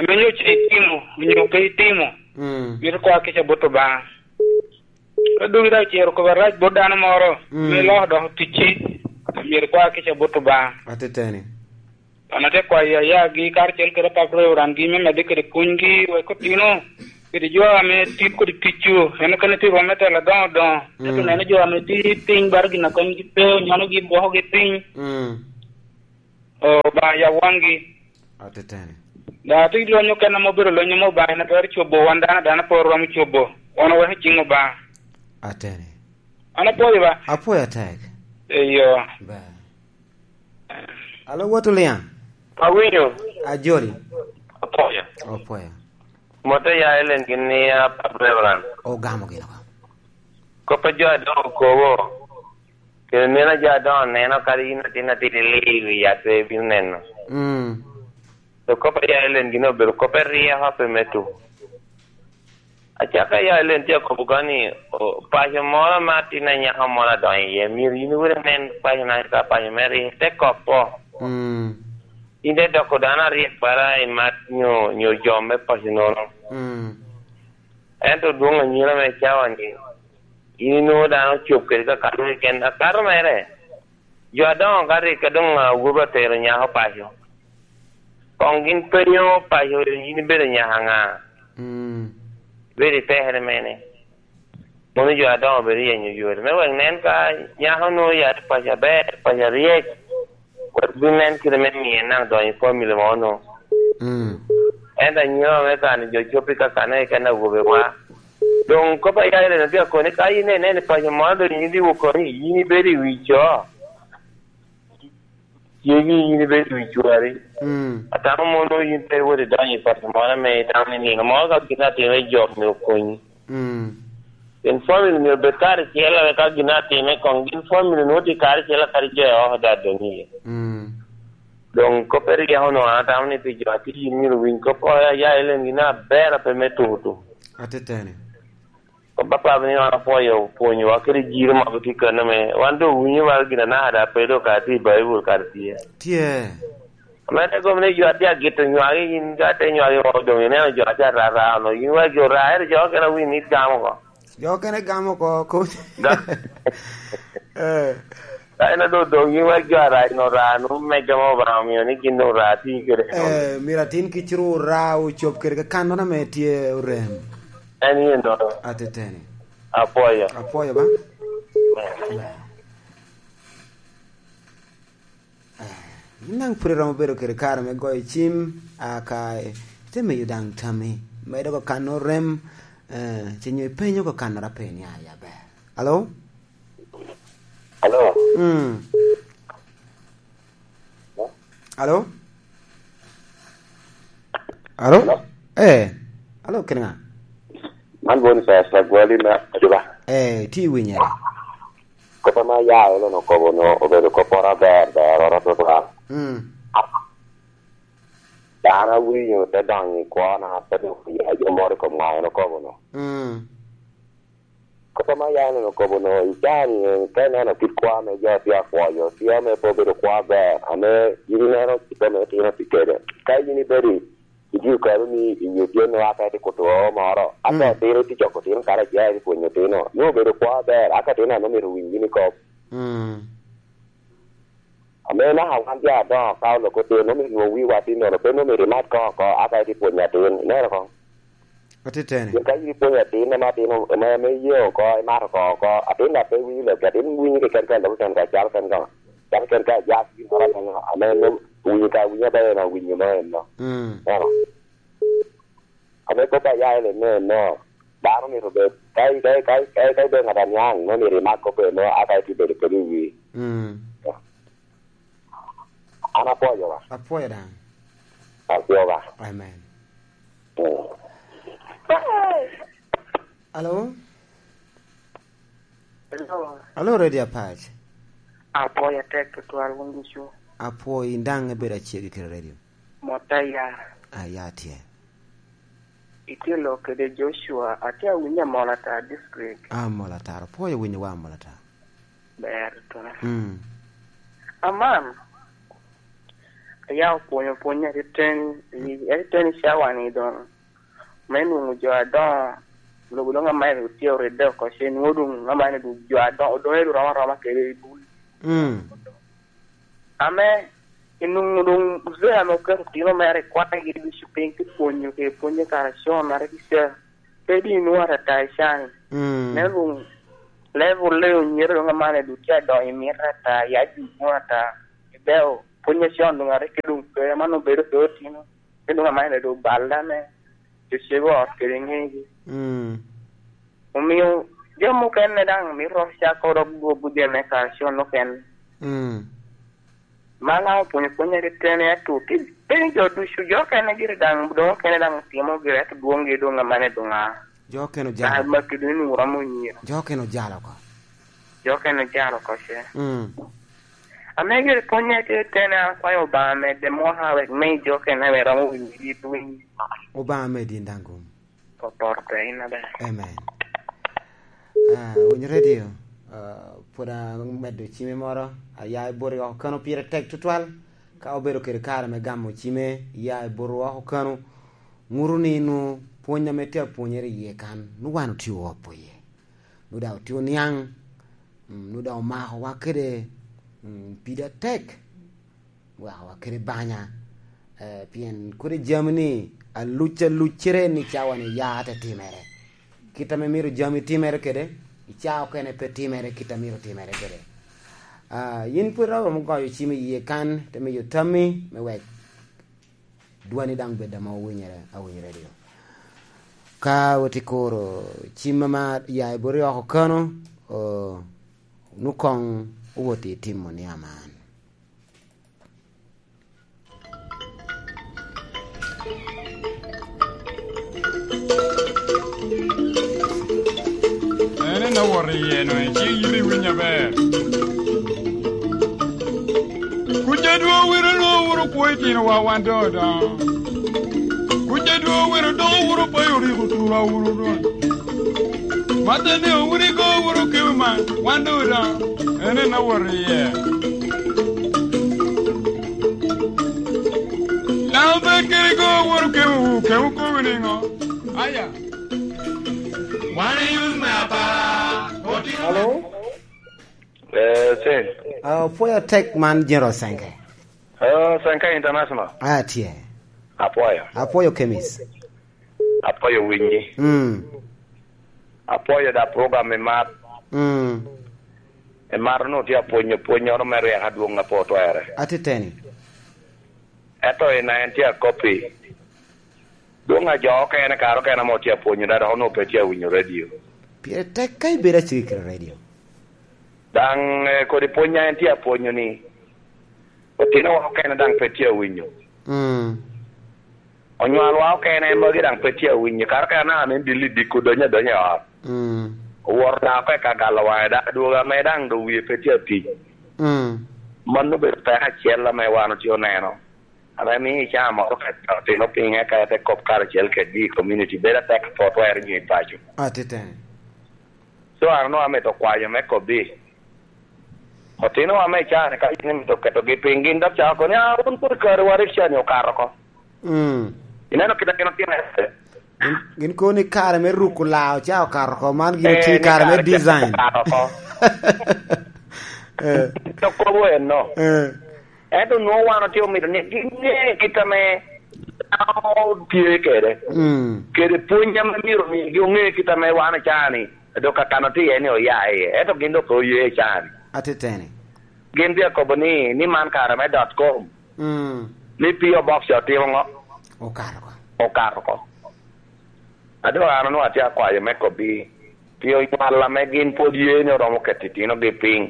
Menyo ce itimo, onyo pe itimo, mm, myero ikwa kica bot Obaŋa. Ka doŋ idok cero kop arac bot dano moro, mm, me loko dok ticci, myero ikwa kica bot Obaŋa. Ateteni. An ate kwayo ayagi karacel kede apap Reverend gi me medde kede pwonygi wek otino kede jo ame tye kodi ticcu, en okene tye rwom me telo adoŋo doŋo. Ento, mm, neno jo ame tye piny baro gin a konygi pe, onyonogi, bwokogi piny. Mm. Obaŋa yab waŋgi. Ateteni. Da, atye ki lweny okene ame obedo lweny ame Obaŋa en atwero cobo, wan dano adana pe oromo cobo. Wan oweko ciŋ Obaŋa. Ateni. An apwoyo ba? Apwoyo atek. Eyo. Ber. Alo, Wot Oliaŋ. Awinyo. Ajoli. Apwoyo. Apwoyo. Mote ya Ellen gin ni, ah, Pap Reverend. Ogamo gin oko. Kop a jo adoŋo okobo. Kede meno a jo adoŋo neno, kadi in atin atin iliyo i wi yat pe ibino neno. Mm. To kop a ya Ellen gin obedo kop a ryeko pe me tuko. Acakka ya Ellen tye akobo ka ni, o, paco moro ma atin anyaka moro adonyo iye, myero in iwot inen paco na ka paco mere, te kopo. Mm. In te doko dano aryek bara i mat nyo, nyo jo me paco nono. Mm. Ento dwoŋ anyira me cawa-ni, in inwoŋo dano ocop kede kakano keken. Akato mere, jo adoŋo ka rik ka doŋ awobi otero nyako paco, koŋ gin penyo paco, in ibedo nyaka ŋa? Mm. Ibedo i pekere mene? Mono jo adoŋo bedo yenyo yore me wek nen ka nyako nwoŋo ya tye paco aber, paco aryek, wek bin nen kite me miye naŋ donyo i family mo nwoŋo. Mm. Ento anyira me kano jo cop i kakano keken awobe wa. Doŋ kop a ya Ellen atye akoni, ka in ineno i paco moro doŋ in idiwo koni, in ibedo i wi co. Cegi in ibedo i wi cwari. Mm. Atamo mono in pe iwot idonyo i paco moro ame itamo ni nino moro ka gin atime jok myero okonyi. Mm. Pien family myero bed karacel, ame ka gin atime koŋ gin family nwoŋo tye karacel, kadi jo i oko daŋ doŋ iye. Mm. Doŋ kop a ryeko nwoŋo an atamo ni pi jo atye in myero winy kop oko, ya, ya Ellen gin aber a pe me tuko tuko. Ateteni. Kop apap ni wan apwoyo pwonyowa kede jiro ma tye kano me, wan doŋ winyo wa gin anaka da pe doŋ kara tye i Baibul kara tye. Tye. Ame te gom ni jo atye agito nywagi, in ka ate nywagi oko doŋ ineno jo atye arara ono, in wa jo ra, ento jo okene wi mit gamo oko. Jo okene gamo oko, ko-, ga-, eh. Ka en adot doŋ in wa jo ara, in ora, nu mega ma Obaŋa omio ni gin doŋ ora ati kede. Eh, myero atin kiciro ora ocop kede kakannoro ame tye orem. En yen doŋ. Ateteni. Apwoyo. Apwoyo ba? Eh. Ber. Eh, in daŋ pwod iromo bedo kede kare me goyo cim, a, ka ite miyo daŋ tammi, medo kakano rem, eh, ce nyo ipenyo kakannoro a pe nia i aber. Alo? Alo? Mm. Alo? Alo? Alo? Eh. Alo, kede ŋa? Man Boniface Agwali me Ajuba. Eh, tye i winyere. Kop ame aya Ellen okobo-nu obedo kop moro aber, ber oro tutwal. Mm. Dano awinyo te donyo i kwona, te dwogo ya jo moro i kom ŋa en okobo-nu. Mm. Kop ame aya Ellen okobo-nu, i caa-ni en, ka ineno kit kwo ame jo tye akwoyo, tye ame pe obedo kwo aber, ame in ineno kit ame itino pi kede. Ka in ibedo i, i dye kalo-ni, i nyo tyen-nu aka itye kuto oo moro, aka, mm, otino itye coko otino karacel, itye pwonyo otino, nwoŋo obedo kwo aber, aka otino a nwoŋo myero owiny gini kop. Mm. Ame naka wan jo adoŋo ka oloko tyen, nwoŋo myero nwoŋo wiwa tin nono, pe nwoŋo myero imat koŋ oko, aka itye pwonyo atin, ineno koŋ? Atiteni. Pien ka in ipwonyo atin ame atin, ame, ame iye oko, imato koŋ oko, atin daŋ pe winyo lobgi, atin winyo keken ka lok keken ka calo keken ka, calo keken ka ajak gin moro ame, ame nwoŋo winyo ka winyo ame en owinyo me eno. Mm. Ineno? Ame kop a ya en eno, dano myero obed, ka, ka, ka, ka, ka ibedo ŋat aniaŋ, nwoŋo myero imak kop eno, aka itye bedo kede i wi. Mm. An apwoyo wa. Apwoyo daŋ. Apwoyo wa. Amen. Mm. Alo? Hello. Alo, Radio Apac. Apwoyo atek tutwal wun ducu. Apwoyo in daŋ ibedo aceggi kede radio. Mot aya. Aya tye. Itye lok kede Joshua, atye awinyo Amolata district. Amolata, apwoyo winyo wa Amolata. Ber twal. Mm. Aman, Ya opwonyo pwony atiteni, i atiteni cawa-ni doŋ. Me nwoŋo jo adoŋo, lobo doŋ amac otye oride oko, ce nwoŋo doŋ amac doŋ jo adoŋo, doŋ ero romo aroma kede i bul. Mm. Ame, inwoŋo doŋ uzee ame oketo otino mere i kwaegi ducu piny, ki pwonyo, ki pwonyo i kare acon, ate ki ca. Pe di inwoŋo atata i can. Mm. Nen doŋ level-le onyero doŋ aman doŋ tye adonyo i mito ata, ya jo nwoŋo ata. Ibeo, pwony acon doŋ arik ki doŋ pe, aman obedo pe otino. Pe doŋ aman doŋ oballe ame cecego ot kede ŋegi. Mm. Omio jo mukene daŋ mito cako dok gwogo jami me kare acon okene. Mm. Man daŋ opwonyo pwony atiteni, ento pe, pe ni jo ducu, jo okene gire daŋ, doŋ okene daŋ otimo gire, ento dwoŋgi doŋ amanni doŋ a. Jo okene ojalo. Daŋ Makedoni onwoŋo romo nyiro. Jo okene ojalo oko. Jo okene ojalo oko ce. Mm. Ame gire pwony atiteni, an akwayo Obaŋa medde mwaka wek mi jo okene ame romo winyo yit winy. Obaŋa medi in daŋ gum. Opoto pe in aber. Amen. Ah, Winy Radio, ah, pwod amedo cime moro, aya i boti oko kano pire tek tutwal. Ka obedo kede kare me gamo cime, iya i boti oko kano, ŋuto ni nwoŋo pwony ame tye apwonyere iye kan, nwoŋo wan otye opo iye. Nwoŋo daŋ otye oniaŋ, mm, nwoŋo daŋ omakowa kede, mm, pida tek. Wakowa kede banya, eh, pien kodi jami ni aluc aluccere ni cawa ni ya te timere. Kit ame myero jami timere kede, i ca okene pe timere kit a myero timere kede. Ah, yin pwod iromo goyo cim i yie kan, te miyo tammi me wek dwani daŋ bed ame owinyere, awinyere dio. Ka woti kuro cim ama ya i boti oko kano, o, nwoŋo koŋ owot i timo ni aman. En en awot iye-nu, icik yito iwiny aber. Kuc adwoŋ wiro lwoŋo wuro kwo itinowa wan doŋ odoŋo. Kuc adwoŋ wiro doko wuro payo rik otura wuro rwot. Mata ne owuro igo wuro kewe man, wan doŋ odoŋo. En en awot iye. Laŋo bed kede go woro kewu, kewu kobo niŋo? Aya. Wan iyuth me apar, otino. Hello? Eh, Sen. Ah, opwoyo tek man General Senke. Ah, Senke International. Ah, tye. Apwoyo. Apwoyo Kemis. Apwoyo winyi. Mm. Apwoyo da program i mar. Mm. I mar nu tye apwonyo pwonyoro me ryeko adwoŋ a pe otwere. Atiteni. Ento i na en tye akopi. Dwoŋ a jo okene kare okene ame otye apwonyo da dok onwoŋo pe tye awinyo radio. Pire tek ka ibedo aciki kede radio. Daŋ, eh, kodi pwony a en tye apwonyo ni, otinowa okene daŋ pe tye awinyo. Mm. Onywalwa okene magi daŋ pe tye awinyo. Kara ka anaka ame en dil i diko donyo adonya i ot. Mm. Owoto daŋ oko i ka galo waŋe, daŋ adwogo ame daŋ doŋ wie pe tye atic. Mm. Mano obedo peko acel ame wan otye oneno. Ame mio i caa moro ka otino piny eka ete kop karacel kedgi i community, bedo atek apot wero nyo i paco. Atiteni. So, an onwoŋo amito kwayo me kobbi. Otinowa me caa-ni ka gin imito ketogi piny, gin dok cako ni, "Ah, wun pwod kare wa rik caa-ni okato oko." Mm. Ineno kit a gin otimo ete? Gin, gin kono ni kare me ruko lao ca okato oko, man gin Eh, otye ni kare me kare ca design. Okato oko. Eh. To kobo enno. Eh. Ento nwoŋo wan otye omito ni gin ŋe kit ame dano tye kede. Mm. Kede pwony ame myero omigi oŋe kit ame wan ocaa-ni, dok kakano tye iye ni oya iye. Ento gin dok pe oye i caa-ni. Atiteni. Gin tye akobo ni, ni man kare me dot com. Mm. Ni P O Box otimo ŋo? Okato oko. Okato oko. A doŋ an onwoŋo atye akwayo me kobbi, pi onywal ame gin pwod ye ni oromo keto itinogi piny,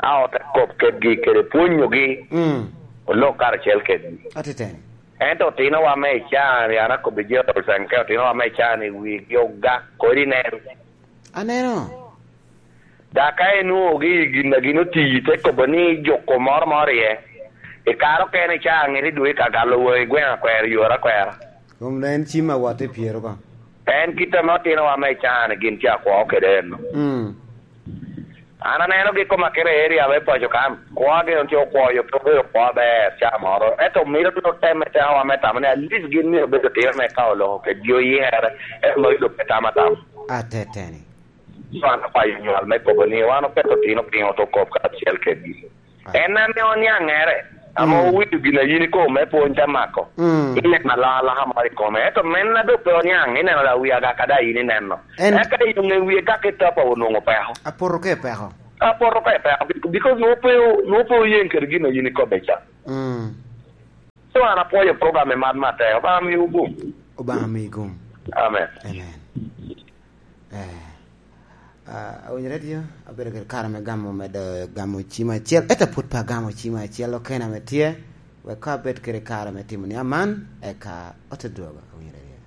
a ote kop kedgi kede pwonyogi, mm, olok karacel kedgi. Atiteni. Ento otinowa me icaa-ni, an akobbi Gerald Senke, otinowa me icaa-ni wigi ogak kodi nen. Aneno. Dok ka inwoŋogi i gin a gin oti, te kobo ni juko moro moro iye. I kare okene ca ŋete dwe ka galo wei gweŋ akwero yore akwera. Kom da en cim awot i pyero ko. En kit ame otinowa me can gin tye akwo kede eno. Mm. An anenogi i koma kede area me paco kan. Kwogi once okwoyo pe obedo kwo aber ca moro. Ento mito bino temme tekowa me tamo ni at least gin myero obed otino me ka oloko kedgi oyikere, ento magi doŋ pe tam atama. Ateteni. So an akwayo nywal me kobo ni wan oketo otino piny oto kop kacel kedgi. En ame oniaŋere, ame owinyo gin a yin ikobo me pwony te mako. Ineno alaka moro i kome. Ento men a doŋ pe oniaŋ, ineno da wi agaka da yin ineno. Eka i ŋe wie gak i topa onwoŋo peko. Apoto ka i peko. Apoto ka i peko, because nwoŋo pe o-, nwoŋo pe oyeŋ kede gin a yin ikobbe ca. So an apwoyo program i mat matek. Obaŋa miwu gum. Obaŋa mi gum. Amen. Amen. Eh, ah, awinyo radio, abedo kede kare me gamo, medo gamo cim acel, ento pwod pe agamo cim acel okene ame tye, wek ka abed kede kare me timo ni aman, eka ote dwogo, awinyo radio.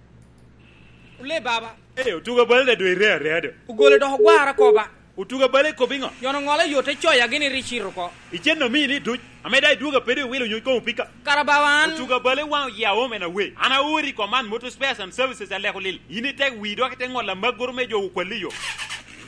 Ole baba. Eh, otuga bale da dwe ire area do. Ogole dok ogwara ko ba. Otuga bale kop iŋo? Yono ŋolo yo te coya gini ri cito ko. Icen omini duc. Ame da idwogo apedo iwilo nyuc komo pika. Kara bawa an. Otuga bale waŋ oya home and away. An aori i Command Motor Spares and Services aleko lil. In itek wi dok ite ŋolo amagoro me jo okwalli yo.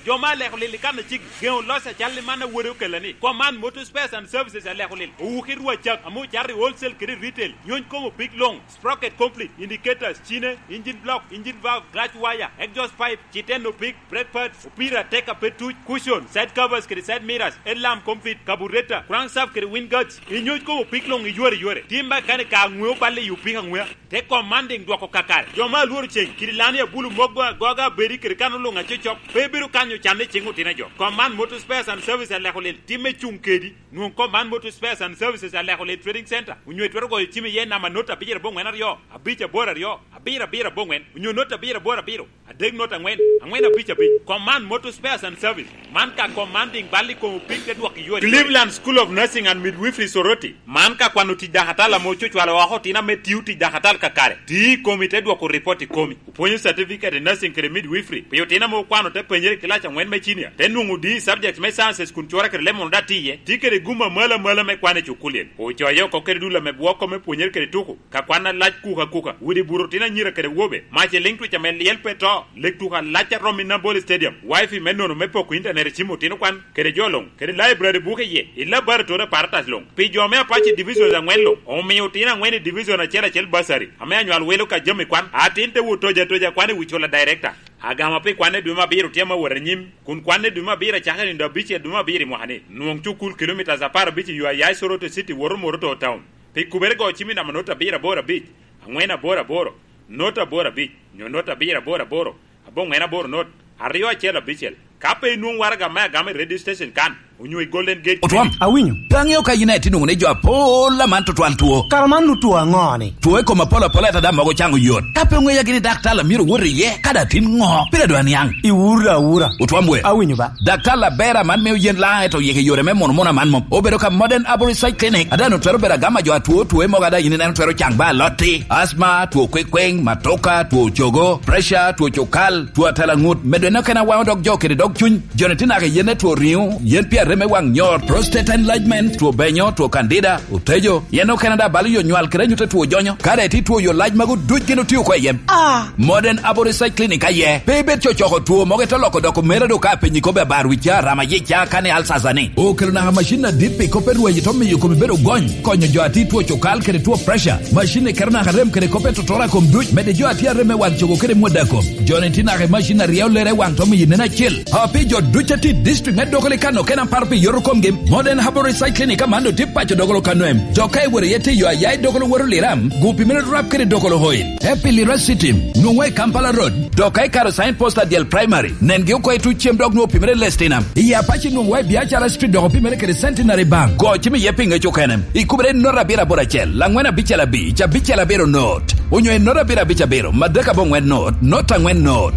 Jo ma aleko lil i kan acik, geŋo loc acal i man awode okella ni. Command Motor Spares and Services aleko lil. Owuki rwa cak, ame ocato i wholesale kede retail. Nyuc komo pik loŋ. Sprocket complete, indicators, cine, engine block, engine valve, clutch wire, exhaust pipe, citeno pig, brake pads, opira tek a pe tuc, cushion, side covers kede side mirrors, headlamp complete, carburetor, crankshaft kede wind guards. Inyuc komo pig loŋ iyore yore. Tim ba kane ka aŋweo balle i opika aŋwea. Te commanding dwoko kakare. Jo ma alworo ceng, kidi lani abulu mok go agoga abedi kede kano luŋ acocok, pe bedo kanyo canne ceng otino jo. Command Motor Spares and Service aleko lel, timme cuŋ kedi. Nwoŋ Command Motor Spares and Services aleko lel Trading Center, onyo itwero goyo cim iye namba not abicel aboŋwen aryo, abic aboro aryo, abiro abiro aboŋwen, onyo not abiro aboro abiro, adek not aŋwen, aŋwen abic abic. Command Motor Spares and Service, man ka commanding bal i kom opik te dwoko iyore. Cleveland School of Nursing and Midwifery Soroti, man ka kwano tic dakatal ame ococwalo oko otino ame tio tic dakatal kakare, ti i komi te dwoko ripot i komi. Opwonyo certificate i nursing kede midwifery pi otino ame okwano te penyere i kilac aŋwen me cinia, te nwoŋo D E subject me sciences kun cure kede lemon daŋ tye iye. Tye kede gum amalo amalo me kwan i cukulien. Ocoye oko kede dul ame bwoko me pwonyere kede tuko, ka kwan alac kuka kuka, udi buto otino anyira kede awobe, mac i liŋ twic ame lyel pe to, lek tuko alac a romo i Nambole Stadium, wifi me nono me poko intanet i cim otino kwan, kede jo luŋ, kede library buke iye, i laboratory apparatus luŋ. Pi jo me Apache Divisions aŋwen luŋ, omio otino aŋwen i division acel acel bursary, ame anywal welo ka jami kwan, atin te wot toja toja kwan i wi cula director. Agama pi kwan i dwe me abiro tye ame wot anyim, kun kwan i dwe me abiro acakere nino abicel dwe me abiro i mwaka ni. Nwoŋ cukul kilometres apar abic i yo a ya i Soroti City woto Moroto Town. Pi kubere go cim i namba not abiro aboro abic, aŋwen aboro aboro, not aboro abic, nyo not abiro aboro aboro, aboŋwen aboro not, aryo acel abicel. Ka pe inwoŋ waraga me agama i radio station kan, onyo i Golden Gate Clinic. Otwam, awinyo. Pe aŋeo ka yin aye tye nwoŋo ni jo apol aman tutwal two. Kara man nu two aŋo ni? Two i kom apol apol ata daŋ mogo caŋo yot. Ka pe oŋeya gini daktar a myero wot iye, kadi atin ŋo? Pire dwe aniaŋ. Iwura awura. Otwam we. Awinyo ba. Daktar aber aman mio yen laŋ eto yeke yore me mono mono aman mom. Obedo ka Modern Aboriginal Clinic, a daŋ otwero bedo agama jo atwo two mogo a daŋ yin ineno twero caŋ ba alotti, asma, two kwekweŋ, matoka, two cogo, pressure, two cukal, two atalaŋut, medo en okene awaŋo dog jo kede dog cuny. Joni tye naka i yen me two riŋo, yen pi arem me waŋ nyor, prostate enlargement, two benyo, two candida, otejo, yen okene daŋ balo yo nywal kede anyut a two jonyo. Ka daŋ itye two yo lac magu duc gin otio oko i yen. Ah! Modern Aboriginal Clinic aye. Pe ibed cocoko two mogo ite loko doko mere do ka apenyi kobbe abar wi ca, rama yic ca, kani alsasa ni. Okelo naka macin adit pi kop pe rwenyo to miyo komi bedo gony, konyo jo atir two cukal kede two pressure. Macin ni keto naka rem kede kop pe totora kom duc, mede jo atir arem me waŋ cogo kede mwada kom. Joni tye naka i macin aryeyo lere waŋ to miyo nen acel. A pi jo duc a tye i district me Dogolo i Kano kena paro pi yoto komgi, Modern Herbal Recycling i Kamando tye paco Dogolo Kano em. Jo ka iwero iye tiyo aya i Dogolo woro Liram, gu pi mene rap kede Dogolo Oil. Te pi Lira City, nwoŋwa i Kampala Road, dok ka ikaro sign post Adyel Primary, nengi oko i tuc cem dok nwoŋo pi mene Lestina. I Apaci nwoŋwa i Biacara Street dok pi mene kede Centenary Bank. Go cim iye pi ŋec okene. Ikubere not abiro aboro acel, angwen abicel abic, abicel abiro not. Onyo i not abiro abic abiro, madek aboŋwen not, not angwen not.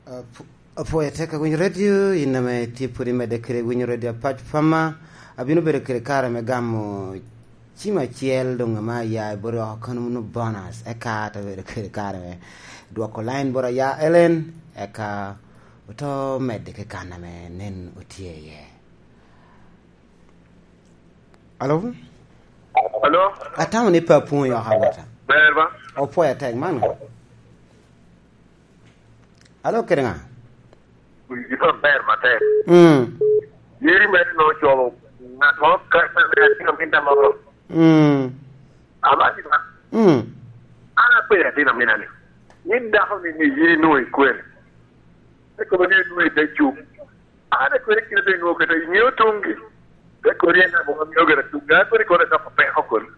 Apw-, apwoyo atek awinyo radio, in ame tye pwod imedde kede winyo radio Apac Pama, abino bedo kede kare me gamo cim acel doŋ ame aya i bot oko kono wunu bonus, eka ate bedo kede kare me dwoko line bot aya Ellen, eka oto medde ki kan ame nen otye iye. Alo? Alo? Atamo ni pe apwoŋo yoko awota. Ber ba? Opwoyo atek man. Alo kede ŋa? Winyo maber, matek. Mm. Yeri mere no ocolo ŋat mo ka, ka, ka, ka, ka, ka, ka, ka, Mm. Amanni ba? Mm. An apenyo atin amina ni, yin dako ni, ni yin inwoŋo ikwene? Te kobo ni inwoŋo i te cuk. An akwene kite te inwoŋo kete, iŋeo tuŋgi. Te kodi en abo ŋo mio gire tuŋgi. An akwene kodi dok peko kodi.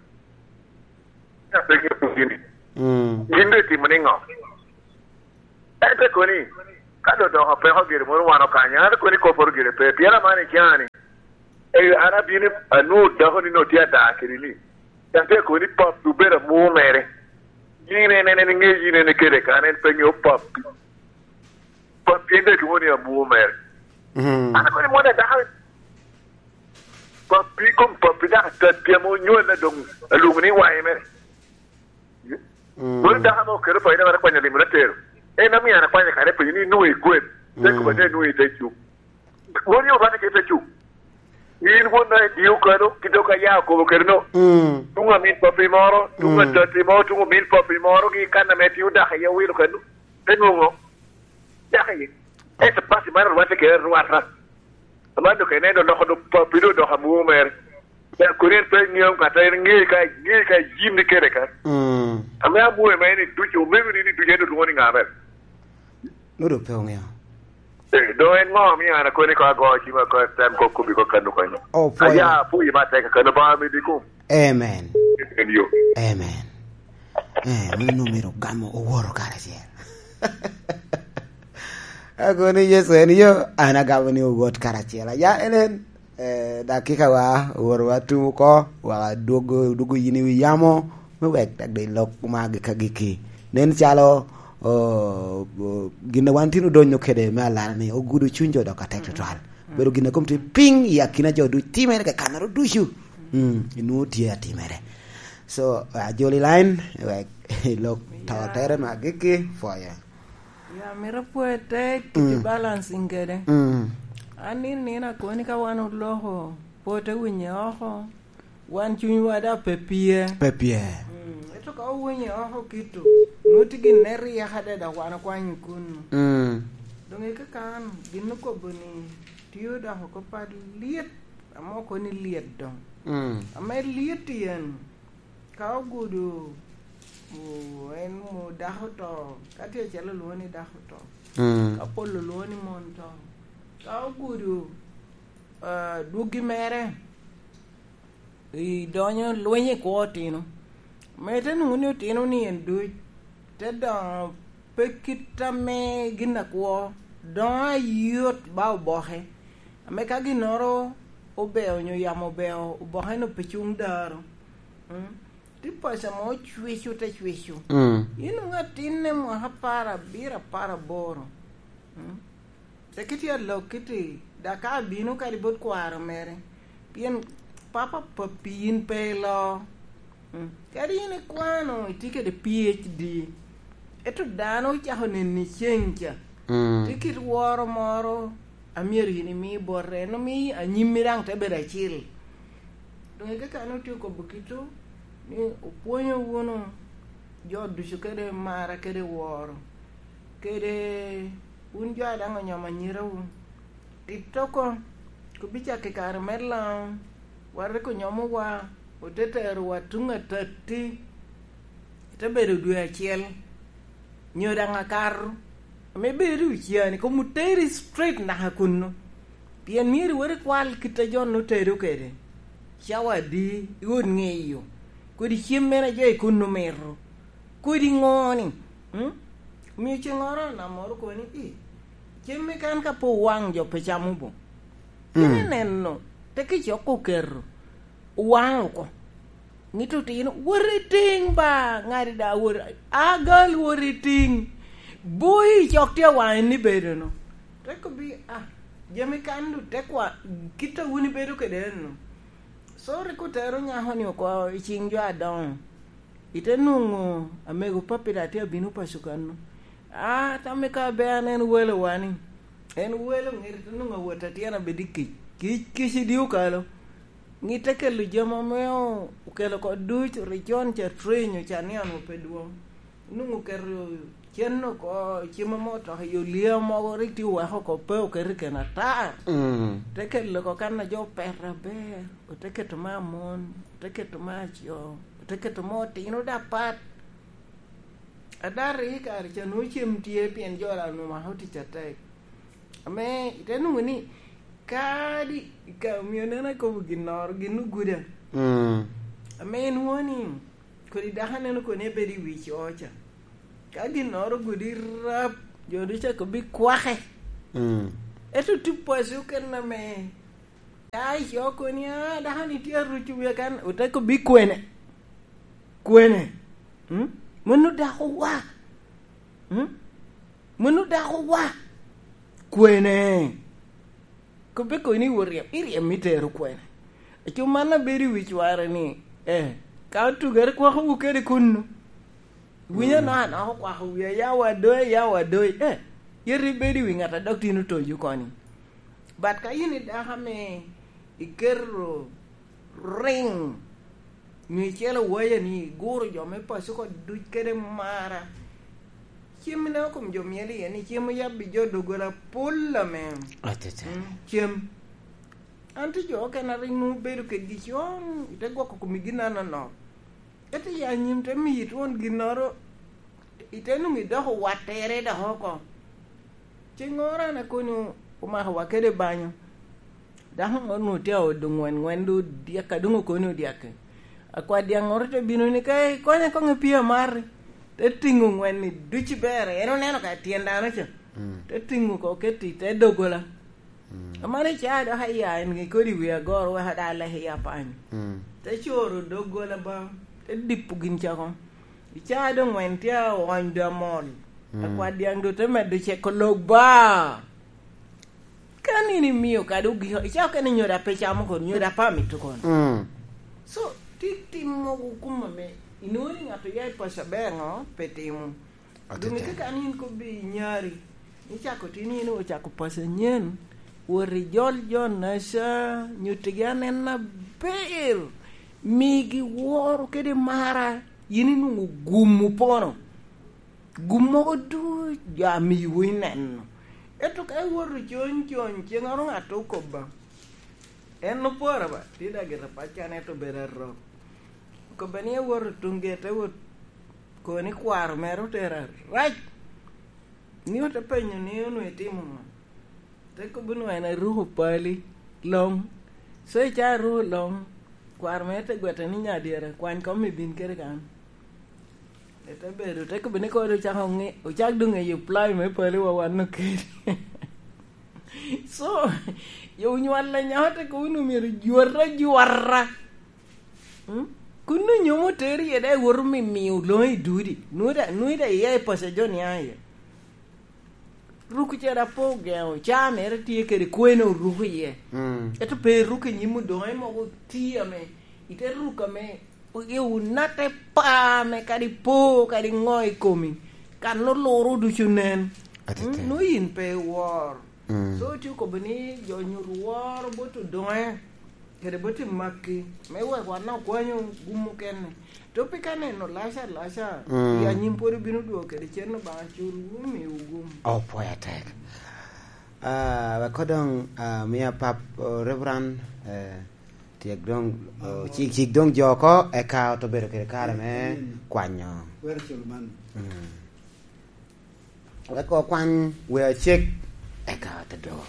Apenyo tuŋgi ni, Mm. Gin doŋ itimo niŋo? En te koni, ka doŋ doko peko gire moro wan okanyo, an te koni kopporo gire pe, pien aman icani. Eyo, an abino anwoŋo dako ni no tye ada kede ni. Can te koni pap obedo amwo mere. Yin en, en, en iŋe yin en ikele kan, en pe ŋeo pap. Pap pien te tuŋo ni amwo mere. Mm. An akoni mwana dako. Pap pi kom pap pi dako atat pi ame onywal na doŋ alwoŋo ni waye mere. Mm. Moro dako ame okelo paco ni wan akwanyo limo na tero. En amio an akwanyo kare penyo ni inwoŋo i kwen. Te Mm. kobo ni inwoŋo i te cuk. Won yo bane ke te cuk. In won na idio kano, kite ka ya okobo kede no. Mm. Tuŋ amin papi moro, tuŋ Mm. atati moro, tuŋ amin papi moro, gi kan ame tio dako iye owilo kano. Te nwoŋo. Dako iye. Ento papi maro rwatte kede rwata. Aman doŋ ka ineno loko doŋ papi doŋ dok amwo mere. Ca kodi en pe ŋeo ŋat a en ŋe ka, ŋe ka yin ni kede ka. Mm. Ame amwo ema en iduco, omego ni ni duco en olwoŋo ni ŋa mere? Nwodo pe oŋeo. Eh, doŋ en ŋo omio an akoni ko ago cima ko tem ko kubi ko kanu konyo? Oh, pwoyo. Aya, pwoyo ma tek kanu ba mi dikum. Amen. En yo. Amen. Eh, meno omito gamo oworo karacel. Akobo ni Yecu en yo, an agamo ni owot karacel. Aya, en en. Eh, dakika wa, oworo wa tum oko, wa dwogo, dwogo yin i wi yamo, me wek tek de lok ma agikki agikki. Nen calo, oh, oh, gin a wan tino donyo kede me alara ni, ogudo cuny jo dok atek tutwal. Bedo gin a kom tye piny i akina jo ducu, timere kakannoro ducu. Mm, inwoŋo tye atimere. So, ajoli line, wek lok to tere me agikki, pwoyo. Ya, mito pwoyo te kiti Mm. balancing kede. Mm. An nino nino akoni ka wan oloko, po te winye oko, wan cunywa da pe pye. Pe pye. Mm, ento ka owinye oko kito, nwoŋo tye gin ne ryek adada wan okwanyo kunu. Mm. Doŋ i kakan, gin okobo ni, tio dok oko pa lyet, ame okoni lyet doŋ. Mm. Ame lyet tyen, ka ogudo, o, en mo dako to, ka tye acalo olwoŋo ni dako to, Mm. ka pol olwoŋo ni mon to, ka ogudo, ah, dwoggi mere, i donyo lweny i kwo otino, me te nwoŋo ni otino ni en duc, te doŋo pe kit ame gin akwo, doŋo ayot ba oboke, ame ka ginnoro obeo onyo yamo obeo, oboke-nu pe cuŋ daro. Mm. Tye paco ame ocwico te cwico. Mm. Yin nwoŋo atinne mwaka apar abiro, apar aboro. Mm. Te kiti alok kiti, dok ka abino kadi bot kwaro mere, pien papa papi in pe ilo. Mm. Kadi in ikwano, itye kede P H D, ento dano ocako neni ceng ca. Mm. Tye kit woro moro a myero in imi bote, en omi anyimmi daŋ te bedo acil. Doŋ i kakan otye okobo kito ni opwonyo wunu jo ducu kede mara kede woro, kede wun jo a daŋ onyomo anyirawu. Tito oko, kubicakki kare me Laŋo, wan rik onyomowa, ote terowa tuŋ atatti, ite bedo dwe acel, nyo daŋ akato, ame bedo i oceani, kom oteri straight naka kunnu. Pien myero iwot ikwal kit a jo-nu otedo kede, cawa adi i ot ŋeyo, kodi cem mene a jo i kunnu mito, kodi ŋo-ni, mm? Omio ceŋŋoro namoro kobo ni, "I, cem me kan ka pe owaŋ jo pe camo bo." Cen Mm. ineno, te kicoko oketo, owaŋ oko. Ŋit otino, "Wot itiŋ ba, ŋadi da wot, agal wot itiŋ. Boi cok tye awaŋ en ibedo-nu." Te kobbi, "Ah, jami kan du te kwa, kit a wun ibedo kede eno." So rik otero nyako-ni oko i ciŋ jo adoŋo. Ite nwoŋo amego papi da tye abino paco kanno. Ah, tamme ka be an en welo wani. En welo ŋete te nwoŋo awot atyena bedo i kic. Kic, kic i dye okalo. Ŋit te kelo jami ame o-, okelo oko duc, ricon ca, trenyo ca, nian pe dwoŋ. Nwoŋo oketo Cen oko cim ame otoko i olia mogo rik tye oweko oko pe oketo i keno ata. Mm. Te kelo oko kan a jo opeto aber, ote keto me amon, ote keto me aco, ote keto me otino dapat. Adati i kare ca nwoŋo cem tye pien jo onwoŋo mako tic atek. Ame ite nwoŋo ni kadi ka omio neno akobo ginnoro, gin oguda. Mm. Ame inwoŋo ni kodi dako aneno koni ebedo i wi co ca. Ka ginnoro ogudi rap, jo ducu cako bi kwake. Mm. Ento tye paco kene ame ya i co koni, "Ah, dako-ni tye aruco wiya kan," ote kobi kwene. Kwene. Mm? Mano dako wa. Mm? Mano dako wa. Kwene. Kobbe koni ni oryem, iryem itero kwene. Aco man abedo i wi cware ni, eh, ka otugere kwakowu kede kunnu. Winyo, mm, anaka anaka okwako wiya, ya wa doyi, ya wa doyi. Eh, yet ibedo i wi ŋat a dok tin otoyo koni. But ka in i dako ame iketo riŋ, nyo icelo waya ni iguro jo me paco oko duc kede mara, cem ineno kom jo myel iye ni cem oyabbi jo doggola pol ame. Atete. Mm, cem. An tye jo okene a rik nwoŋo obedo kedgi con, ite gwoko komi gin anonok. Ento i anyim te miyi twon ginnoro, ite nwoŋo idoko wattere dok oko. Ceŋŋoro an akoni omako wa kede banyo. Dako ŋo nwoŋo tye a odo ŋwen, ŋwen doŋ odyek, a doŋ okoni odyek. Akwa dyaŋŋoro te bino ni, "Ka ikonya koŋ i pii amati." Te tiŋo ŋwen-ni duc i bere, en oneno ka tyen dano ca. Mm. Te tiŋo oko keto i te doggola. Mm. Amaro i caa dok aya en kodi wi agoro wek ada lek i apany. Mm. Te coro doggola ba, te dipo gin cako. I caa doŋ ŋwen tye a oony doŋ amol. Mm. Akwa dyaŋ doŋ te medo ceko lok ba. Ka nino imio kadi ogiko, i caa okene nyodo a pe camo kono, nyodo a pe amito kono. Mm. So, ti-, tim mogo kum ame, inwoŋo ni ŋat oya i paco aber ŋo, pe timo. Doŋ atete. Ite kan in kobbi inyari, icako tin in ocako paco anyen, wot ijol jo naca, nyuttigi anen aber, migi woro kede mara, yin inwoŋo gum opono. Gum mogo duc jo amiwu ineno. Ento ka iwoto cony cony, ceŋŋoro ŋat okobba. En opora ba, tye daŋ gire pacca, ento bedo arok. Okobba ni awoto tuŋ gete wot, koni kwaro mere otera arac. Ni ote penyo ni onwoŋo itimo ŋo? Te kobo nwoŋo en aruko pali, loŋ. So i caa aruko loŋ, kwaro mere te gwete ni nyadyere, kwany kom ibin kede kan. Ete bedo, te kobo ni kodi ocako ŋe-, ocak doŋ ŋeyo ply me pali wa wan okedi. So, yo onywal anyaka te kobo ni omyero jwata jwata. Mm? Kun onyo mo teri iye, daŋ iwoto mi-, miyo loŋo i dudi. Nwoŋo da-, nwoŋo da iya i paco jo niaŋ iye. Ruk ca da pe ogeŋo, caa mere tye kede kwene oruko iye. Mm. Ento pe iruko i nyim odoŋe mogo ti ame, ite ruko ame, i onatte pa ame kadi po, kadi ŋo i komi, kan oluro ducu nen. Atete. Mm, nwoŋo in pe iwor. Mm. So, tye okobo ni jo nyut woro bot odoŋe. Kede bot i makki, me wek wan okwanyo gum mukene. To pe ka neno laca laca, mm, i anyim pwod obino dwogo kede cen Obaŋa cul, wumiwu gum. Opwoyo atek. Ah, wek koŋ doŋ, ah, mi apap, oh, Reverend, eh, tyek doŋ, oh, cik, cik doŋ jo oko, eka oto bedo kede kare me kwanyo. Wero cul man. Mm. Wek okwan wee acek, eka te dogo.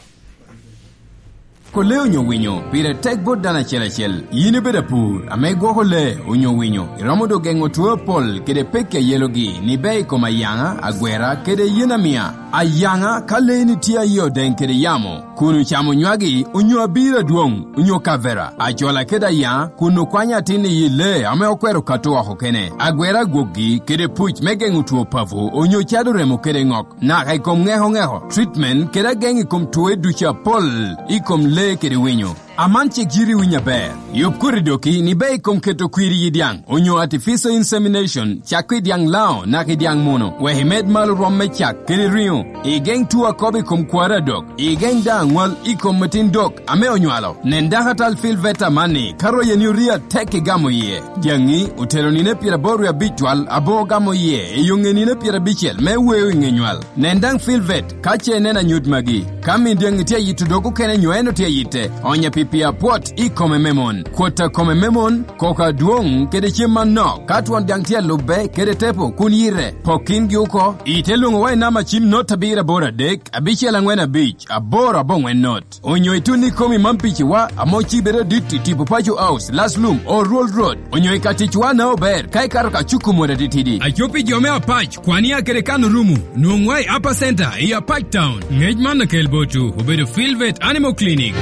Ko lee onyo winyo, pire tek bot dano acel acel. Yin ibedo apur, ame igwoko lee onyo winyo, iromo doŋ geŋo two apol kede pekki a yelogi, ni ber i kom ayaŋa, agwera, kede yen amia. Ayaŋa, ka leeni tye aye odeŋ kede yamo, kun ocamo nywagi, onyo abiro adwoŋ, onyo kavera, acola kede ayaŋa, kun okwanyo atin i yi lee ame okwero kato oko kene, agwera gwokgi, kede puc me geŋo two papo, onyo cado remo kede ŋok, naka i kom ŋeko ŋeko, treatment, kede ageŋ i kom two ducu apol, i kom lee kede winyo. Aman cik yiri winyo aber. Yub kodi doki ni be i kom keto kwiri i dyaŋ, onyo artificial insemination, cak i dyaŋ lao naka i dyaŋ muno, wek imed malo rwom me cak kede riŋo. Igeŋ tuo akobo i kom kwari adok. Igeŋ daŋ aŋwal i kom metin dok ame onywalo. Nen dakatal Phil Veta amanni, ka royeni orio atek igamo iye. Dyaŋi otelo nino pyeraboro wie abic twal aboŋo gamo iye i yoŋe nino pyerabicel me weo i ŋe nywal. Nen daŋ Phil Vet ka ce ineno anyut magi. Ka min dyaŋi tye ayito dog okene nyo en otye ayitte, onye pi pi apwot i kome me mon. Kwot a kome me mon, koko adwoŋ kede cem manok. Ka twon dyaŋ tye alubbe kede tepo kun yite, pok kingi oko. Ite lwoŋo wa i namba cim not abiro aboro adek, abicel aŋwen abic, aboro aboŋwen not. Onyo itun i komi man piciwa, ame ocibe adit i tipo Paco House, Laslum, Oruol Road. Onyo i ka ticwa na ober, ka ikato ka cuku mot atitidi. Aco pi jo me Apac, Kwania kede Kano Rumu, nwoŋwa i Upper Center i Apac Town. Ngec man okel botwu, obedo Phil Vet Animal Clinic.